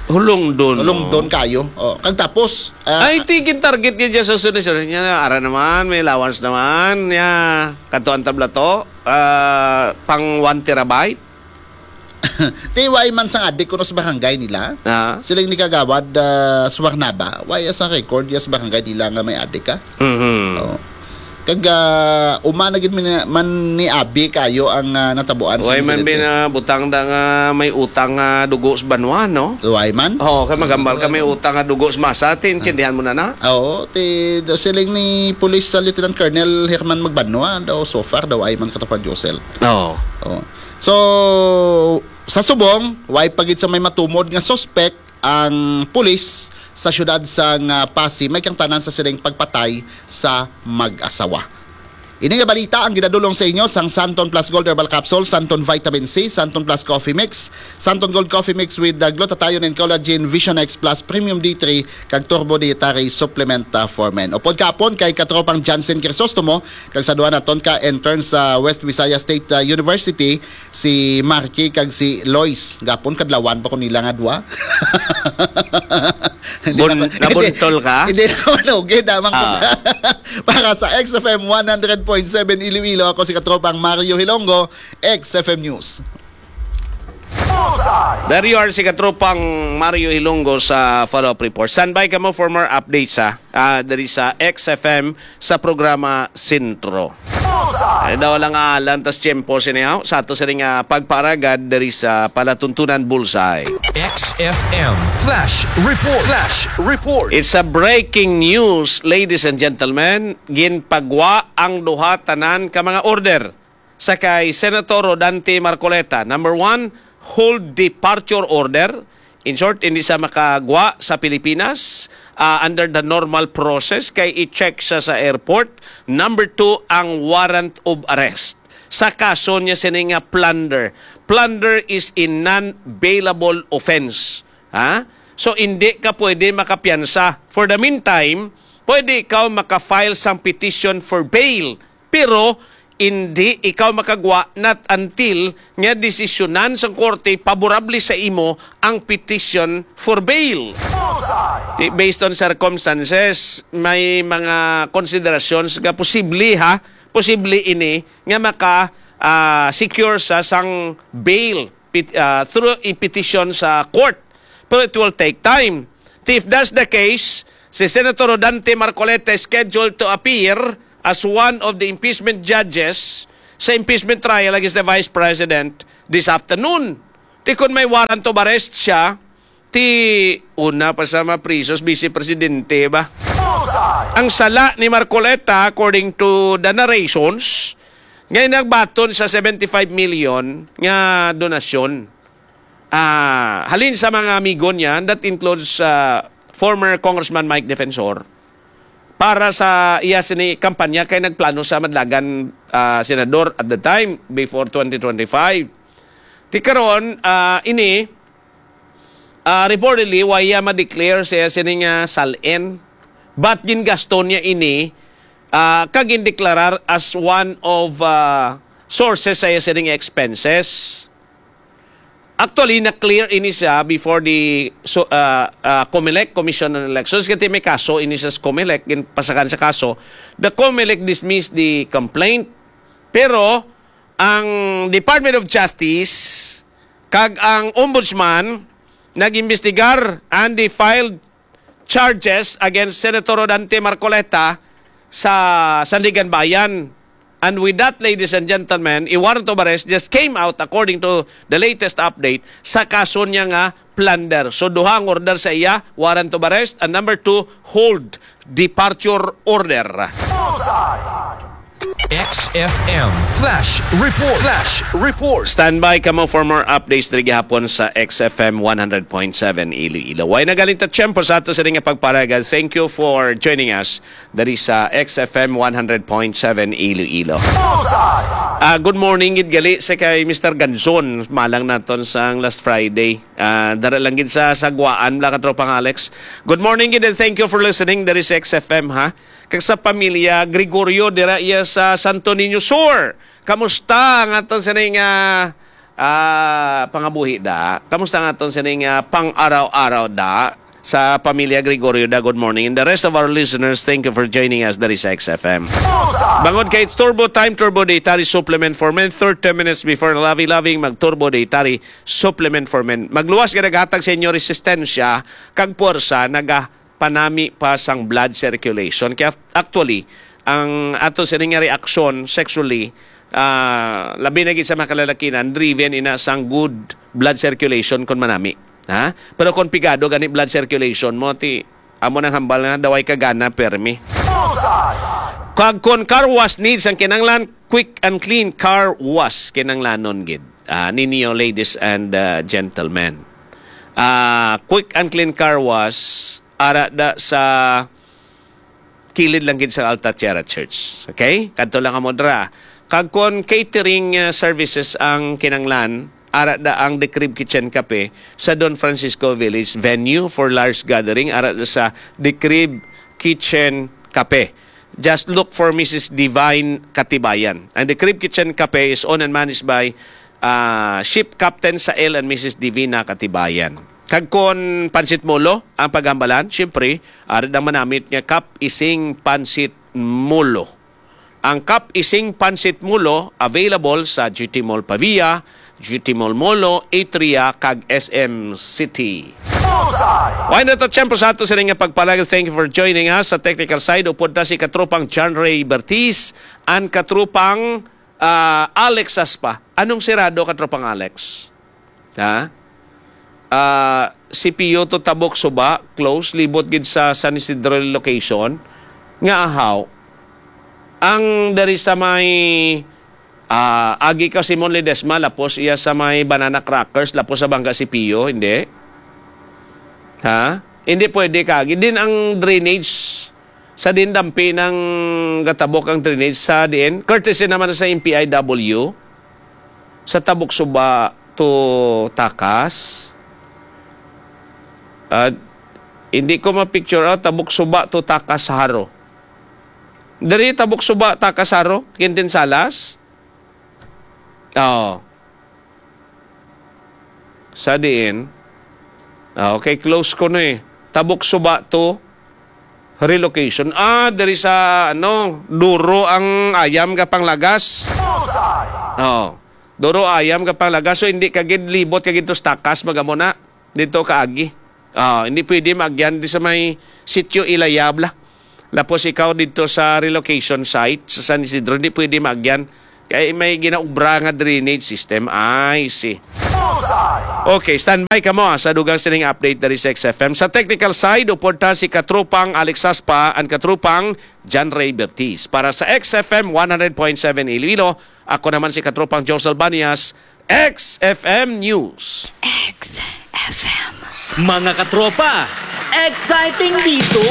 Hulungdon, hulungdon oh. kayo. Oh, kag tapos, ah, Ay, ti, gin-target niya dyan sa sunoy, sir. Niya, ara naman, may allowance naman. Niya, katuan tabla to, ah, pang one terabyte. Ti, way man sang adik kuno sa barangay nila. Ah. Siling ni Kagawad, ah, Suarnaba, way sa record ya sa barangay nila nga may adik, ah. Mhm. Oh. Kag, ah, uma na gid man, man ni abi kayo ang, ah, natabuan sa Way man insidente. bin, ah, butang da nga may utang nga dugo sa banwa, no? Way man? Oo, kay magambal ka may Oo. utang nga dugo sa masa, ti, intindihan mo na na? Oo, ti, do siling ni Police, ah, Lieutenant Colonel Herman Magbanwa, daw so far, daw ay man, Katropang Josel. Oo. Oo. So, sa subong, way pa gid sa may matumod nga suspect ang pulis sa siyudad sang, ah, Passi, may kangtanan sa siling pagpatay sa mag-asawa. Ini nga balita ang ginadulong sa inyo sang Santon Plus Gold Herbal Capsule, Santon Vitamin C, Santon Plus Coffee Mix, Santon Gold Coffee Mix with, ah, glutathione and collagen, Vision X Plus Premium D three, kag Turbo Dietary Supplement, ah, for Men. Upod kapon kay Katropang Jansen Crisostomo, kag sa duha naton ka intern sa West Visayas State, ah, University, si Marky kag si Lois. Gapon kadlawan pa ko nila nga duha. Hindi Bun-, na ba, nabuntol hindi, ka? hindi na manugid, amang Ah. pagka-, para sa X F M one hundred point seven Iloilo, ako si Katropang Mario Hilonggo, X F M News. Bullseye! There you are, si Katropang Mario Hilonggo sa follow-up report. Standby ka mo for more updates, ha? Ah, diri sa X F M sa programa Sentro. Bullseye! Ay daw lang alan tas tiyempo sini, ha? Sa ato sini nga pagparagad diri sa palatuntunan Bullseye. X F M Flash Report. Flash Report. It's a breaking news, ladies and gentlemen. Ginpagwa ang duha tanan ka mga order sa kay Senator Rodante Marcoleta. Number one, hold departure order. In short, hindi siya makagwa sa Pilipinas, ah, under the normal process kay i-check siya sa airport. Number two, ang warrant of arrest sa kaso niya sini nga plunder. Plunder is a non-bailable offense. Ha? So, hindi ka pwede makapiyansa. For the meantime, pwede ikaw maka-file sang petition for bail. Pero, Hindi ikaw makagwa not until nga desisyonan sang korte paborable sa imo ang petition for bail. Di, based on circumstances, may mga considerations nga posible, ha, posible ini nga maka, ah, secure sa sang bail pet-, ah, through a petition sa court. Pero it will take time. If that's the case, si Senator Rodante Marcoleta is scheduled to appear as one of the impeachment judges sa impeachment trial against the Vice President this afternoon. Ti kon may warrant of arrest siya, ti una pa sa mapriso si Vice Presidente ba? Ang sala ni Marcoleta, according to the narrations, nga nagbaton sa seventy-five million nga donasyon. Ah, halin sa mga amigo niya, that includes, ah, former Congressman Mike Defensor, para sa iya sini kampanya kay nagplano sa madlagan, ah, senador at the time before twenty twenty-five. Ti karon, ah, ini, ah, reportedly, wa iya ma-declare sa iya sini nga sal-in, but gingasto niya ini, ah, kag gindeklarar as one of, ah, sources sa iya sini nga expenses. Actually, na-clear ini siya before the, so, ah, ah, COMELEC, Commission on Elections. Kasi may kaso ini sa COMELEC, ginpasakan sa kaso. The COMELEC dismissed the complaint. Pero ang Department of Justice kag ang Ombudsman nag-imbestigar and they filed charges against Senator Rodante Marcoleta sa Sandiganbayan. And with that, ladies and gentlemen, a warrant of arrest just came out, according to the latest update, sa kaso niya nga plunder. So, duha ang order sa iya, warrant of arrest, and number two, hold departure order. X F M Flash Report. Flash Report. Standby kamo for more updates diri gihapon sa X F M one hundred point seven Iloilo. Way na galing ta tiyempo sa ato sa nga pagpalagan. Thank you for joining us diri sa X F M one hundred point seven Iloilo. Ah, good morning gid gali sa kay Mister Ganzon, malang naton sang last Friday. Ah, dara lang gid sa Saguaan, mga katropang Alex. Good morning gid and thank you for listening diri sa X F M, ha. Kag sa pamilya Gregorio dira iya sa Santo Niño Sur. Kamusta ang aton sining, ah, ah, pangabuhi da? Kamusta ang aton sining, ah, pang-araw-araw da? Sa pamilya Gregorio da, good morning. And the rest of our listeners, thank you for joining us diri sa X F M. Bangod kay it's Turbo Time, Turbo Dietary Supplement for Men, thirty minutes before lovey-loving, mag Turbo Dietary Supplement for Men. Magluwas nga naghatag sa inyo resistensya kag puwersa, nagapanami pa sang blood circulation. Kaya actually, ang ato sini nga reaksyon sexually, ah, labi na gid sa mga kalalakinan, driven ina sang good blood circulation kon manami. Ha? Pero kung pigado gani blood circulation mo, ti amo nang hambal nga daway ka gana permi. Kag kon car wash needs ang kinanglan, quick and clean car wash kinanglanon gid, ah, ninyo, ladies and, ah, gentlemen. Ah, quick and clean car wash ara da sa kilid lang gid sa Alta Tierra Church. Okay? Kadto lang kamo dra. Kag kon catering, ah, services ang kinanglan, ara da ang The Crib Kitchen Cafe sa Don Francisco Village, venue for large gathering, ara da sa The Crib Kitchen Cafe. Just look for Missus Divine Katibayan. And The Crib Kitchen Cafe is owned and managed by, ah, Ship Captain Sael and Missus Divina Katibayan. Kag kon pansit molo ang paghambalan, siyempre, ari ang manamit nga Kap Ising Pansit Molo. Ang Kap Ising Pansit Molo available sa G T Mall Pavia, G T Mall Molo, Atria, kag S M City. Why not, siyempre, sa ato sila nga pagpalagal. Thank you for joining us. Sa technical side, upod na si katropang John Ray Bertiz and katropang, ah, Alex Aspa. Anong sirado, katropang Alex? Ha? Ah, C P U to Tabok Suba, close, libot gid sa San Isidro location. Nga ahaw, ang dari sa may, ah, agi ka Simon Ledesma, lapos iya sa may Banana Crackers, lapos sa Bangga C P U, hindi? Ha? Hindi pwede ka. Din ang drainage sa din dampi ng gatabok ang drainage sa diin. Courtesy naman sa M P I W, sa Tabok Suba to Takas. Ah, hindi ko ma-picture out, Tabok Suba to Takas Haro. Diri, Tabok Suba, Takas Jaro, Quintin Salas. Oo. Sa diin? Ah, okay, close ko na eh. Tabok Suba to relocation. Ah, diri sa, ano, duro ang ayam nga panglagas. Bullseye! Oo. Duro ayam nga panglagas. So, hindi ka gid libot ka gid to sa Takas, magamo na. Dito ka agi. Ah, hindi pwede maagyan di sa may sitio Ilayabla. Lapos ikaw dito sa relocation site sa San Isidro, hindi pwede maagyan. Kay may ginaubra nga drainage system. I see. Bullseye! Okay, standby ka mo ah, sa dugang sining update dari sa X F M. Sa technical side, uporta si Katropang Alex Saspa and Katropang John Ray Bertiz. Para sa X F M one hundred point seven Iloilo, ako naman si Katropang Josel Banias, X F M News. X F M. Mga katropa, exciting dito!